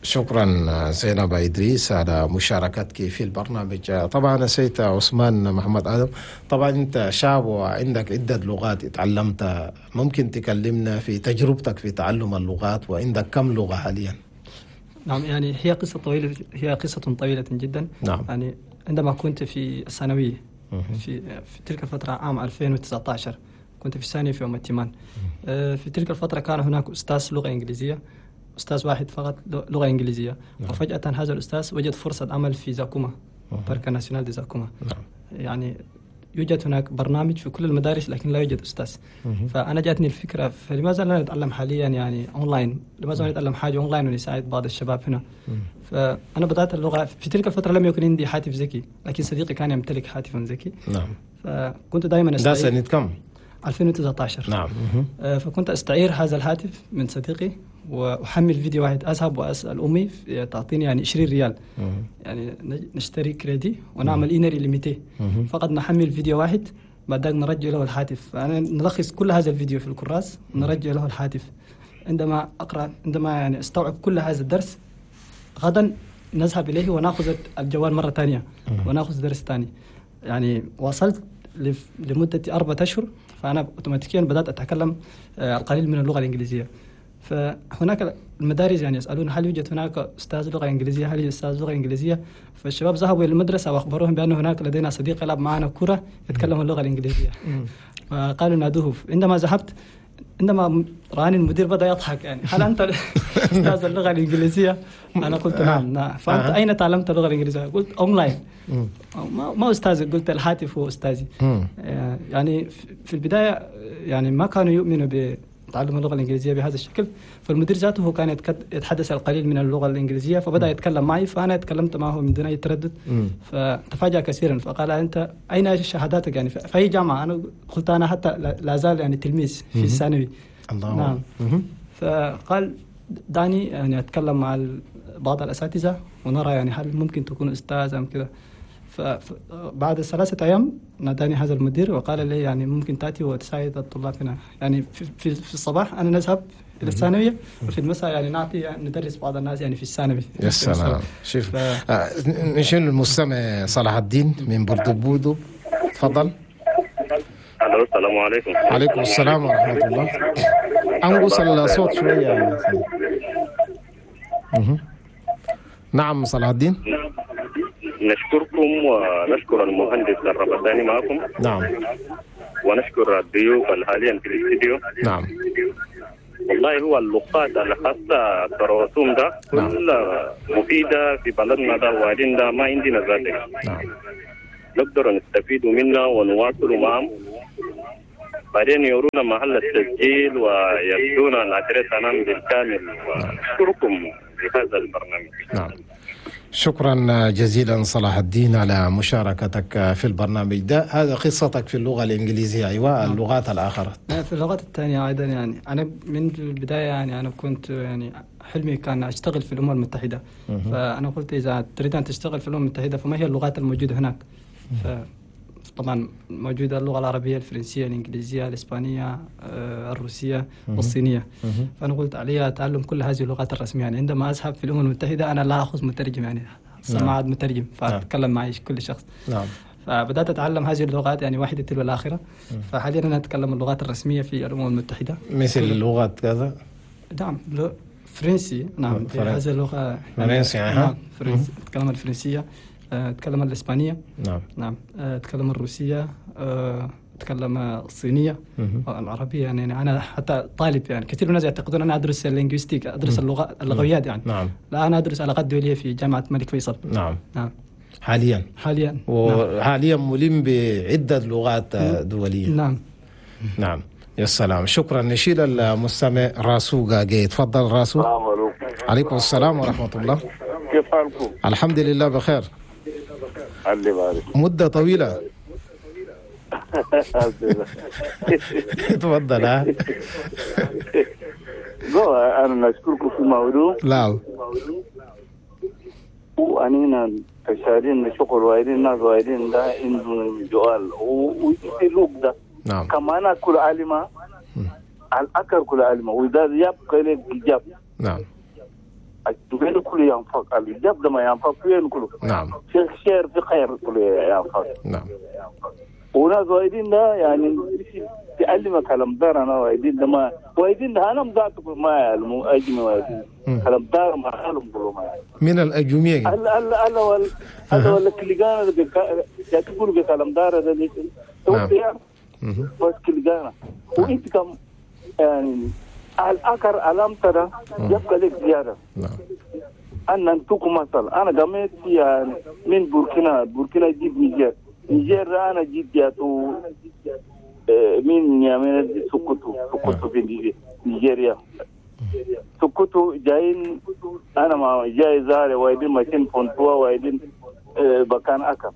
شكرا زينب إدريس على مشاركتك في البرنامج. طبعا سيد عثمان محمد آدم، طبعا أنت شاب وعندك عدة لغات اتعلمتها، ممكن تكلمنا في تجربتك في تعلم اللغات، وعندك كم لغة حاليا؟ نعم، يعني هي قصة طويلة، هي قصة طويلة جدا. نعم. يعني عندما كنت في الثانوية في تلك الفترة عام 2019 كنت في الثانية في أم التيمان. في تلك الفترة كان هناك أستاذ لغة إنجليزية، أستاذ واحد فقط لغة إنجليزية. نعم. وفجأة هذا الأستاذ وجد فرصة عمل في زاكوما، Parc national de Zakouma. نعم. يعني يوجد هناك برنامج في كل المدارس لكن لا يوجد أستاذ. فأنا جاتني الفكرة، فلماذا لا نتعلم حاليا يعني أونلاين؟ لماذا لا نتعلم حاجة أونلاين ونساعد بعض الشباب هنا؟ فأنا بدأت اللغة في تلك الفترة، لم يكن عندي هاتف ذكي، لكن صديقي كان يمتلك هاتفا ذكي. نعم. فكنت دائما أستعير. ده سنة كم؟ 2019. نعم. فكنت أستعير هذا الهاتف من صديقي وأحمل فيديو واحد، أذهب وأسأل أمي تعطيني يعني 20 ريال. يعني نشتري كريدي ونعمل une heure illimitée، فقط نحمل فيديو واحد بعد ذلك نرجع له الهاتف. فأنا نلخص كل هذا الفيديو في الكراس ونرجع له الهاتف. عندما أقرأ، عندما يعني أستوعب كل هذا الدرس، غدا نذهب إليه ونأخذ الجوال مرة ثانية ونأخذ درس ثاني. يعني وصلت لمدة 4 أشهر، فأنا أوتوماتيكيا بدأت أتكلم القليل من اللغة الإنجليزية. فهناك المدارس يعني يسألون هل يوجد هناك أستاذ لغة إنجليزية، هل يوجد أستاذ لغة إنجليزية؟ فالشباب ذهبوا إلى المدرسة وأخبروهم بأن هناك لدينا صديق يلعب معنا كرة يتكلم اللغة الإنجليزية. فقالوا نادوه. عندما ذهبت، عندما رآني المدير بدأ يضحك، يعني هل أنت أستاذ اللغة الإنجليزية؟ أنا قلت نعم. نعم. فأنت أين تعلمت اللغة الإنجليزية؟ قلت أونلاين. ما أستاذي، قلت الهاتف هو أستاذي. يعني في البداية يعني ما كانوا يؤمنوا بتعلم اللغة الإنجليزية بهذا الشكل. فالمدير ذاته كان يتحدث القليل من اللغة الإنجليزية، فبدأ يتكلم معي، فأنا تكلمت معه من دون أي تردد. فتفاجأ كثيرا، فقال أنت أين شهاداتك يعني في أي جامعة؟ أنا قلت أنا حتى لا زال يعني تلميذ في الثانوي. الله. نعم. فقال دعني يعني أتكلم مع بعض الأساتذة ونرى يعني هل ممكن تكون أستاذ أم كذا. فبعد 3 أيام ناداني هذا المدير وقال لي يعني ممكن تأتي وتساعد الطلاب هنا. يعني في الصباح أنا نذهب إلى الثانوية، وفي المساء يعني نعطي يعني ندرس بعض الناس يعني في الثانوي. يا سلام. شوف نشيل المستمع صلاح الدين من بردبودو، تفضل. الو. السلام عليكم. عليكم السلام ورحمة الله. أنقص الصوت شوية. نعم صلاح الدين. نشكركم ونشكر المهندس الربداني معكم. نعم. ونشكر الضيوف حاليا في الاستديو. نعم. والله هو اللغات الخاصة الرسوم ده كلها مفيدة في بلدنا ده، وبعدين ده ما عندنا ذاتك. نعم. نقدر نستفيد منها ونواصل معهم. بعدين يورونا محل التسجيل ويدونا الأدريس أنا بالكامل. ونشكركم بهذا البرنامج. نعم. شكرا جزيلا صلاح الدين على مشاركتك في البرنامج ده. هذا قصتك في اللغة الإنجليزية. أيوة، اللغات الآخرة. في اللغات الثانية أيضا يعني أنا من البداية يعني أنا كنت يعني حلمي كان أشتغل في الأمم المتحدة. فأنا قلت إذا تريد أن تشتغل في الأمم المتحدة فما هي اللغات الموجودة هناك؟ طبعا موجودة اللغة العربية، الفرنسية، الإنجليزية، الإسبانية، الروسية والصينية. فأنا قلت علي تعلم كل هذه اللغات الرسمية. يعني عندما أذهب في الأمم المتحدة أنا لا أخذ مترجم، يعني سماعة مترجم، فأتكلم مع كل شخص. نعم. فبدأت أتعلم هذه اللغات يعني واحدة تلو الآخرة. فحاليا أنا أتكلم اللغات الرسمية في الأمم المتحدة. مثل لغة كذا؟ نعم، فرنسي. نعم، هذه اللغة فرنسي. نعم، فرنسي. أتكلم الفرنسية، أتكلم الإسبانية. نعم. نعم، أتكلم الروسية، أتكلم الصينية، العربية. يعني أنا حتى طالب، يعني كثير من الناس يعتقدون أنا أدرس ال linguistique، أدرس اللغة، اللغويات يعني. نعم. لا، أنا أدرس علاقات دولية في جامعة الملك فيصل. نعم. نعم. حاليا. حاليا. وحاليا ملم بعدة لغات دولية. نعم. نعم. يا سلام. شكرا. نشيل المستمع راسو جاي. تفضل راسو. السلام عليكم. عليكم السلام ورحمة الله. كيف حالكم؟ الحمد لله بخير. الله يبارك. مدة طويلة. تفضل. ها أنا نشكركم في الموضوع. لا. وأنينا تشارين شغل وايدين ناس وايدين ده عندهم سؤال ويسألوك ده. نعم. كما أنا كل عالمة الأكر كل عالمة وإذا يبقى لك إجابة. نعم. وين كله ينفق الإجابة ده ما ينفق وين كله. نعم. في خير في خير كله ينفق. نعم. وناس وايدين ده يعني تعلم كلام دار أنا وايدين ده ما وايدين ده أنا مذاتك ما يعلموا أجمع وايدين كلام دار ما يعلم كله ما يعلم. من الأجميع. ألا ألا ألا ولا ألا ولا كلجانا ده تقول بكلام دار ده ليش؟ نعم. بس كلجانا وأنت كم يعني الأكر علام ترى يبقى لك زيادة. نعم. أنا أنتوكم مثلا أنا قمت يعني من بوركينا جيب نيجر أنا جيت جاتو من يامين سكوتو في نيجيريا سكوتو جايين أنا ما جاي زاري وايدين ماشين فونتوا وايدين بكان أكا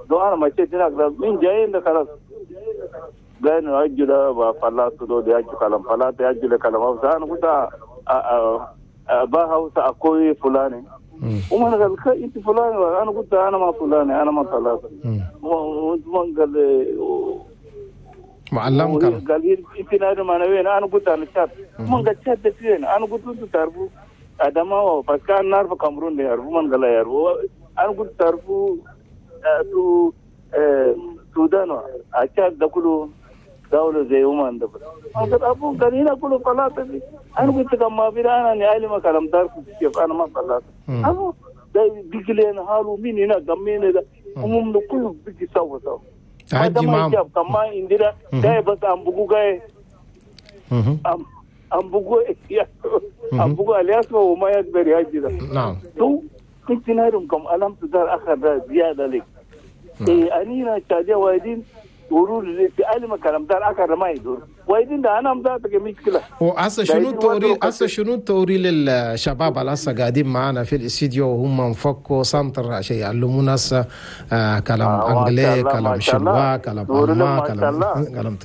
دو أنا ماشي هناك من جايين ده خلاص جايين أجل فلاتو دو دي أجل كلام فلاتو أجل كلام أوسا أنا قلت باها أوسا أكوي فلاني وما قال انت فلان انا قلت انا ما فلان انا ما فلان وما قال معلم قال انت نادم انا وين انا قلت انا شاب ما قال شاب فين انا قلت انت تعرفوا ادما بس كان نعرف كامرون ده يعرفوا من قال يعرفوا انا قلت تعرفوا تو السودان اشاد ده كله دولة زي وما ده انا قلت ابو قال هنا كله فلاطة انا قلت كم ما في انا نعلم ما كلام دار كيف انا ما فلاطة ابو ده بيجي لنا حاله مين هنا قمين ده ومم كله بيجي سوا سوا تهجي معهم كما عندنا ده بس ام بقو جاي ام بقو ام بقو الياس وما يقدر يهجي ده. نعم. تو كنت نارم كم ألم تدار آخر زيادة لك. إيه أنينا تاجي وايدين ورود في علم كلام دار آخر ما يدور وايدين ده أنا مذاتك مشكلة. وهسه شنو توري هسه شنو توري للشباب اللي هسه قاعدين معنا في الاستديو وهم مفكوا سنتر عشان يعلمونا هسه كلام انجلي كلام شنوا كلام ألمان كلام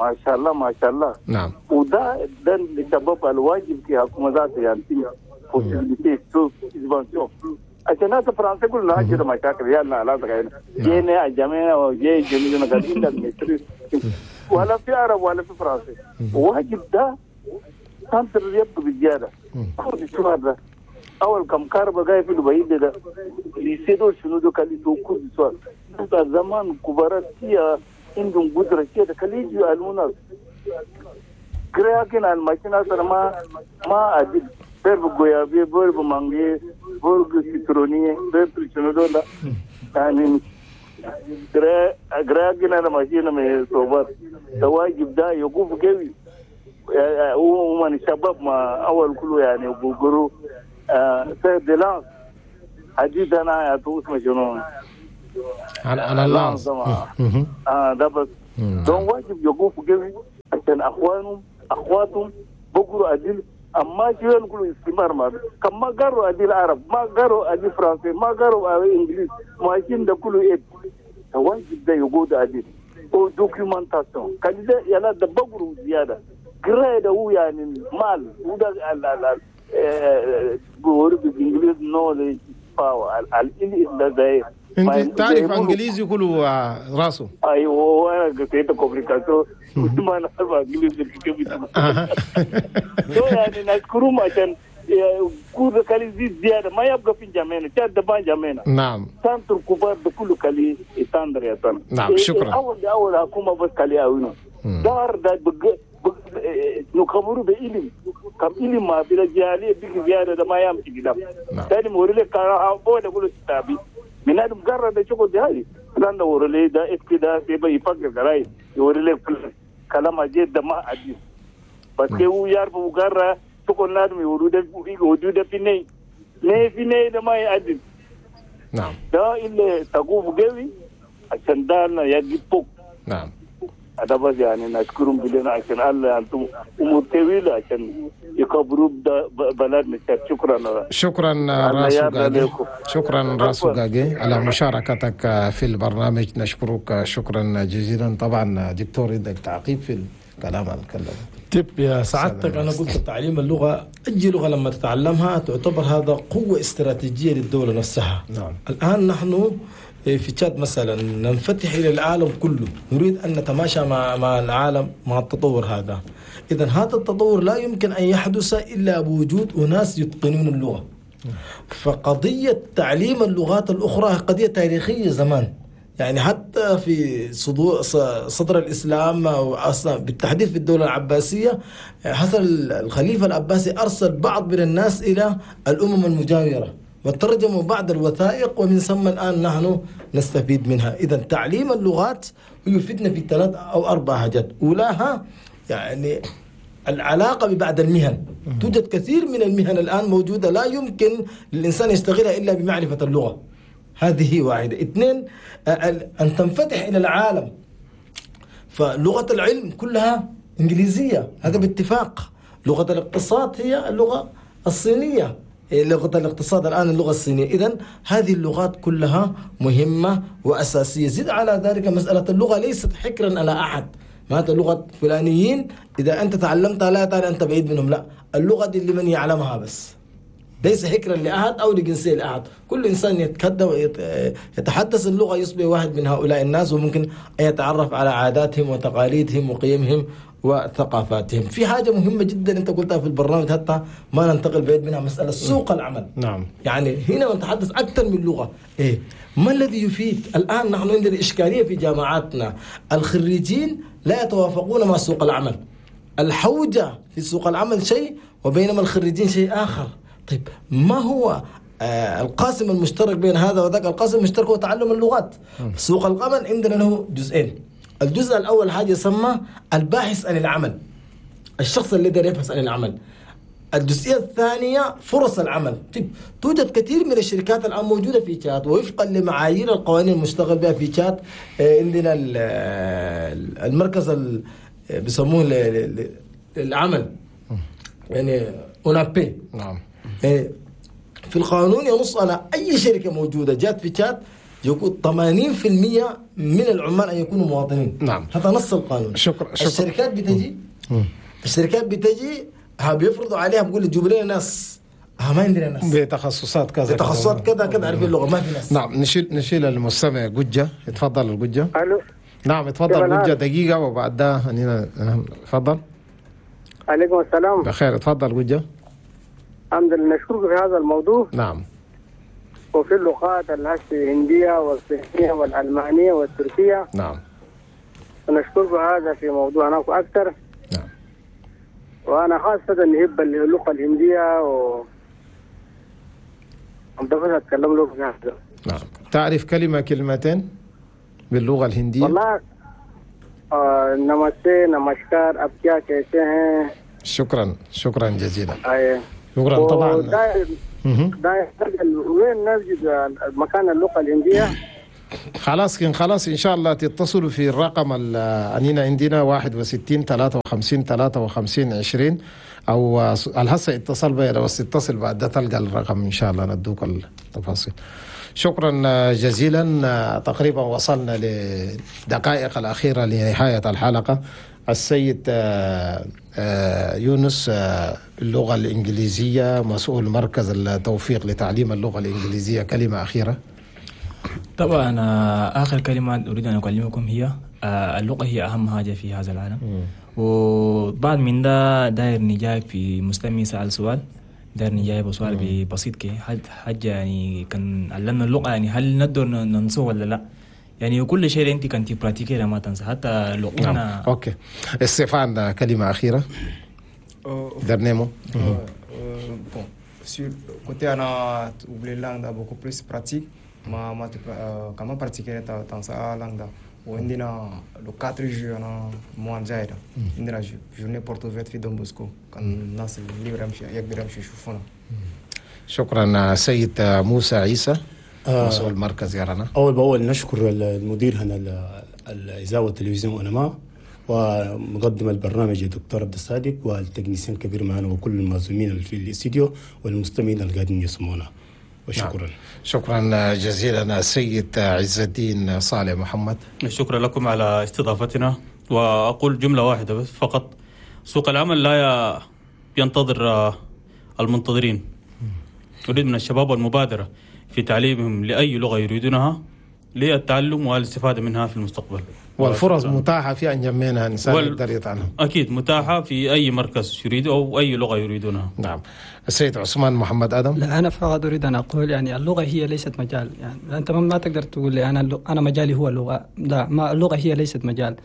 ما شاء الله ما شاء الله. نعم. وده ده الشباب الواجب في حكومة ذات يعني possibilité subvention عشان هذا فرنسا كلها كده مشاكل يلا لا تغير جينا الجميع وجي جميع قاعدين المصري ولا في عرب ولا في فرنسا واجب ده سنتر يبقى بالزيادة كل شو هذا أول كم كارب جاي في البعيد ده ليسيدو شنو ده كان يسوق كل سؤال ده زمان كبارات فيها عندهم قدرة كده خلي يجوا يعلمونا قراءة الماشينة ما أدل برب غويابي برب مانجي برب سيتروني برب شنو ده يعني قراءة الماشينة من صوبات تواجب ده يقوف قوي هو من الشباب ما أول كله يعني بقولوا سيد حديث أنا أتوس مجنون على اللانس ده بس دون واجب يقوف قوي عشان أخوانهم أخواتهم بقروا أدل أما شو نقولوا استمار ما كم ما قروا أدل عرب ما قروا أدل فرنسي ما قروا إنجليز ما يشين ده كله إيه واجب ده يقود أدل أو documentation كان ده يلا ده بقروا زيادة قراءة هو يعني مال وده ال بقولوا بالإنجليز knowledge power ال ده انت تعرف انجليزي كله راسه. ايوه انا قريت communication ما انا عارف انجليزي كيف. يعني نشكرهم عشان كل كالي زيد زيادة ما يبقى في جامعنا تشاد دبان جامعنا. نعم centre كبار بكل كالي يتندر يا تنا. نعم شكرا. اول حكومة بس كالي اوينو دار ده نكبروا بعلم كم علم ما بلا جالي بيك زيادة ده ما يمشي كده. ثاني موريلك كان أول يقولوا تابي من هذا مجرد شغل ده لأن ورلي ده إكتدا سيبا يفكر كراي يورلي كلام أجد ده ما أجد بس كيو يعرف مجرد شغل نادم يورده في ني في ني ده ما يأدي. نعم ده اللي تقوم قوي عشان ده يجيب فوق. نعم هذا بس يعني نشكرهم بلنا عشان الله أنتم أمور طويلة عشان يكبروا بلدنا. شكرا شكرا راسو غاجي، شكرا راسو غاجي على مشاركتك في البرنامج، نشكرك شكرا جزيلا. طبعا دكتور عندك تعقيب في الكلام اللي تكلم؟ طيب يا سعادتك، أنا قلت تعليم اللغة، أي لغة لما تتعلمها تعتبر هذا قوة استراتيجية للدولة نفسها. نعم. الآن نحن في تشاد مثلا ننفتح إلى العالم كله، نريد أن نتماشى مع العالم مع التطور هذا. إذا هذا التطور لا يمكن أن يحدث إلا بوجود أناس يتقنون اللغة. فقضية تعليم اللغات الأخرى قضية تاريخية زمان، يعني حتى في صدر الإسلام أو أصلا بالتحديد في الدولة العباسية، حصل الخليفة العباسي أرسل بعض من الناس إلى الأمم المجاورة وترجموا بعض الوثائق، ومن ثم الآن نحن نستفيد منها. إذا تعليم اللغات يفيدنا في 3 أو 4 حاجات. أولاها يعني العلاقة ببعض المهن، توجد كثير من المهن الآن موجودة لا يمكن للإنسان يشتغلها إلا بمعرفة اللغة، هذه واحدة. 2، أن تنفتح إلى العالم، فلغة العلم كلها إنجليزية، هذا باتفاق. لغة الاقتصاد هي اللغة الصينية، لغة الاقتصاد الآن اللغة الصينية. إذن هذه اللغات كلها مهمة وأساسية. زد على ذلك مسألة اللغة ليست حكرا على أحد، معناتها لغة فلانيين إذا أنت تعلمتها لا تعني أنت بعيد منهم، لا، اللغة دي لمن يعلمها بس، ليس حكرا لأحد أو لجنسية لأحد. كل إنسان يتحدث اللغة يصبح واحد من هؤلاء الناس، وممكن أن يتعرف على عاداتهم وتقاليدهم وقيمهم وثقافاتهم. في حاجة مهمة جدا أنت قلتها في البرنامج حتى ما ننتقل بعيد منها، مسألة سوق العمل. نعم. يعني هنا نتحدث أكثر من لغة. إيه ما الذي يفيد؟ الآن نحن عندنا إشكالية في جامعاتنا، الخريجين لا يتوافقون مع سوق العمل. الحوجة في سوق العمل شيء، وبينما الخريجين شيء آخر. طيب ما هو القاسم المشترك بين هذا وذاك؟ القاسم المشترك هو تعلم اللغات. سوق العمل عندنا له جزئين. الجزء الأول حاجة يسمى الباحث عن العمل، الشخص الذي يبحث عن العمل. الجزئية الثانية فرص العمل. طيب توجد كثير من الشركات الآن موجودة في تشاد، ووفقا لمعايير القوانين المشتغل بها في تشاد عندنا المركز بيسموه للعمل، يعني أونابي. نعم. في القانون ينص على أي شركة موجودة جات في تشاد يكون 80% من العمال أن يكونوا مواطنين. نعم. هذا نص القانون. شكرا. الشركات بتجي، الشركات بتجي بيفرضوا عليها، بيقول جيبوا لنا ناس، ما عندنا ناس بتخصصات كذا، بتخصصات كذا كذا، عارفين اللغة ما في ناس. نعم. نشيل المستمع جوجة. اتفضل الجوجة. الو. نعم اتفضل جوجة، دقيقة وبعدها اتفضل. عليكم السلام. بخير، اتفضل جوجة. الحمد لله، نشكرك في هذا الموضوع. نعم. وفي اللغات الهندية والصينية والألمانية والتركية. نعم. ونشكركم هذا في موضوع هناك أكثر. نعم. وأنا خاصة نحب اللغة الهندية و أتكلم لكم في هذا. نعم. تعرف كلمة كلمتين باللغة الهندية؟ والله नमस्ते नमस्कार अब क्या कहते हैं. شكرا، شكرا جزيلا. أيه. شكرا. طبعا وين نجد مكان اللغة الهندية؟ خلاص خلاص إن شاء الله تتصلوا في الرقم أنينا عندنا 61 53 53 20 أو الهسه اتصل بي، لو اتصل بعد ده تلقى الرقم إن شاء الله ندوك التفاصيل. شكرا جزيلا. تقريبا وصلنا لدقائق الأخيرة لنهاية الحلقة. السيد يونس اللغة الإنجليزية، مسؤول مركز التوفيق لتعليم اللغة الإنجليزية، كلمة أخيرة. طبعا آخر كلمة أريد أن أكلمكم هي اللغة هي أهم حاجة في هذا العالم. وبعد من ده داير نجاوب في مستمع سأل سؤال، داير نجاوب سؤال بسيط كي حاجة يعني كان علمنا اللغة، يعني هل نقدر ننسوه ولا لا؟ يعني كل شيء أنت كنت pratiquer ما تنسى حتى لغتنا. نعم. OK استيفان، كلمة أخيرة. درنيمو. Bon, sur côté أنا oublié langue beaucoup plus pratique. ما كمان pratiquer تنسى langue. وعندنا le 4 juin أنا mois جاي ده عندنا journée porte ouverte في دون بوسكو، كان الناس اللي يقدر يمشي يشوفونا. شكرا. سيد موسى عيسى مسؤول مركز يرانا. أول بأول نشكر المدير هنا الإذاعة والتلفزيون أنما، ومقدم البرنامج الدكتور عبد الصادق، وال technicien الكبير معنا، وكل المعزومين في الاستديو والمستمعين اللي قاعدين يسمعونا. وشكرا. نعم. شكرا جزيلا السيد عز الدين صالح محمد. شكرا لكم على استضافتنا، وأقول جملة واحدة بس فقط: سوق العمل لا ينتظر المنتظرين. أريد من الشباب المبادرة في تعليمهم لأي لغة يريدونها للتعلم والاستفادة منها في المستقبل. والفرص متاحة في أنجمينا إنسان يقدر يتعلم. أكيد متاحة في أي مركز يريد أو أي لغة يريدونها. نعم. السيد عثمان محمد آدم. لا، أنا فقط أريد أن أقول يعني اللغة هي ليست مجال، يعني أنت ما تقدر تقول لي أنا مجالي هو اللغة، لا، ما اللغة هي ليست مجال.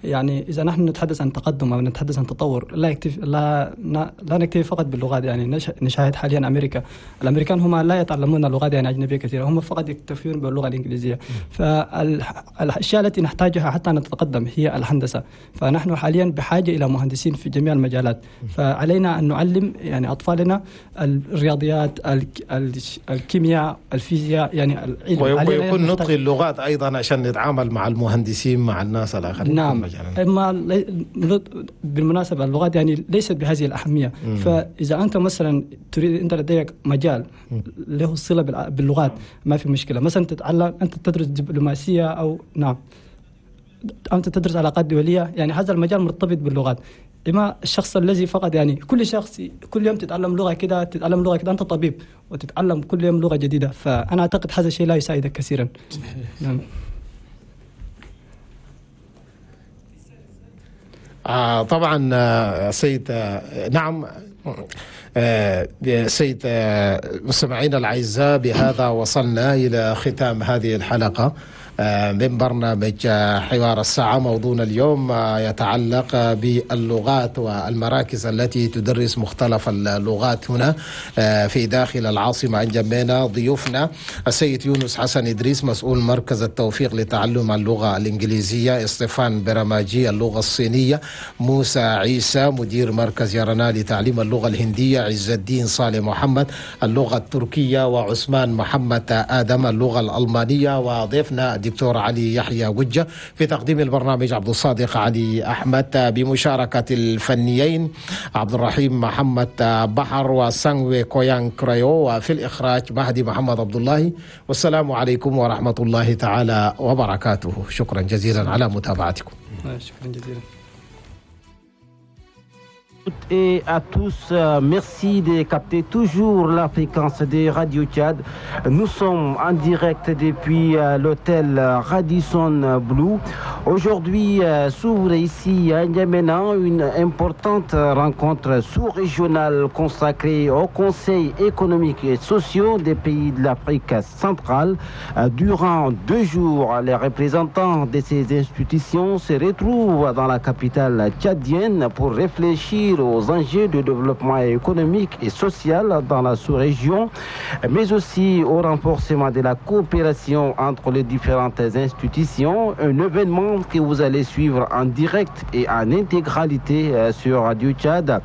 يعني إذا نحن نتحدث عن تقدم أو نتحدث عن تطور لا يكتفي لا لا نكتفي فقط باللغات. يعني نشاهد حاليا أمريكا، الأمريكان هم لا يتعلمون لغات يعني أجنبية كثيرة، هم فقط يكتفون باللغة الإنجليزية. فالأشياء التي نحتاجها حتى نتقدم هي الهندسة، فنحن حاليا بحاجة إلى مهندسين في جميع المجالات، فعلينا أن نعلم يعني أطفالنا الرياضيات، الكيمياء، الفيزياء، يعني العلم. ويكون نطق اللغات أيضا عشان نتعامل مع المهندسين مع الناس الآخرين. نعم. أما بالمناسبة اللغات يعني ليست بهذه الأهمية. فإذا أنت مثلا تريد، أنت لديك مجال له صلة باللغات ما في مشكلة، مثلا تتعلم، أنت تدرس دبلوماسية أو نعم أنت تدرس علاقات دولية، يعني هذا المجال مرتبط باللغات. إما الشخص الذي فقط يعني كل شخص كل يوم تتعلم لغة كده، تتعلم لغة كده، أنت طبيب وتتعلم كل يوم لغة جديدة، فأنا أعتقد هذا الشيء لا يساعدك كثيرا. نعم. طبعا سيد نعم سيد مستمعينا الأعزاء، بهذا وصلنا إلى ختام هذه الحلقة من برنامج حوار الساعة. موضوعنا اليوم يتعلق باللغات والمراكز التي تدرس مختلف اللغات هنا في داخل العاصمة أنجمينا. ضيوفنا السيد يونس حسن إدريس مسؤول مركز التوفيق لتعلم اللغة الإنجليزية، استيفان برماجي اللغة الصينية، موسى عيسى مدير مركز يرانا لتعليم اللغة الهندية، عز الدين صالح محمد اللغة التركية، وعثمان محمد آدم اللغة الألمانية، وضيفنا الدكتور علي يحيى وجه. في تقديم البرنامج عبد الصادق علي أحمد، بمشاركة الفنيين عبد الرحيم محمد بحر وسانوي كويان كريو، وفي الإخراج مهدي محمد عبد الله. والسلام عليكم ورحمة الله تعالى وبركاته. شكرا جزيلا على متابعتكم. شكرا جزيلا. Et à tous, merci de capter toujours la fréquence de Radio Tchad. Nous sommes en direct depuis l'hôtel Radisson Blu. Aujourd'hui s'ouvre ici à N'Djamena une importante rencontre sous-régionale consacrée au Conseil économique et social des pays de l'Afrique centrale. Durant 2 jours, les représentants de ces institutions se retrouvent dans la capitale tchadienne pour réfléchir aux enjeux de développement économique et social dans la sous-région, mais aussi au renforcement de la coopération entre les différentes institutions. Un événement que vous allez suivre en direct et en intégralité sur Radio Tchad.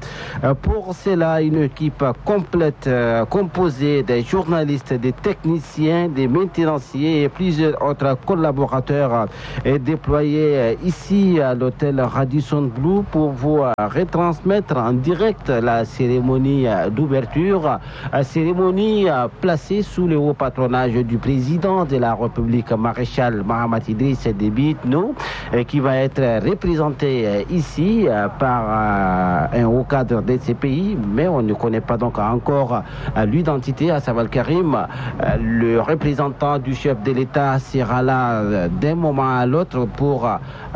Pour cela, une équipe complète composée des journalistes, des techniciens, des maintenanciers et plusieurs autres collaborateurs est déployée ici à l'hôtel Radisson Blu pour vous retransmettre en direct la cérémonie d'ouverture, cérémonie placée sous le haut patronage du président de la République, Maréchal Mahamat Idriss Déby Itno, qui va être représenté ici par un haut cadre de ces pays, mais on ne connaît pas donc encore l'identité. À Saval Karim, le représentant du chef de l'État sera là d'un moment à l'autre pour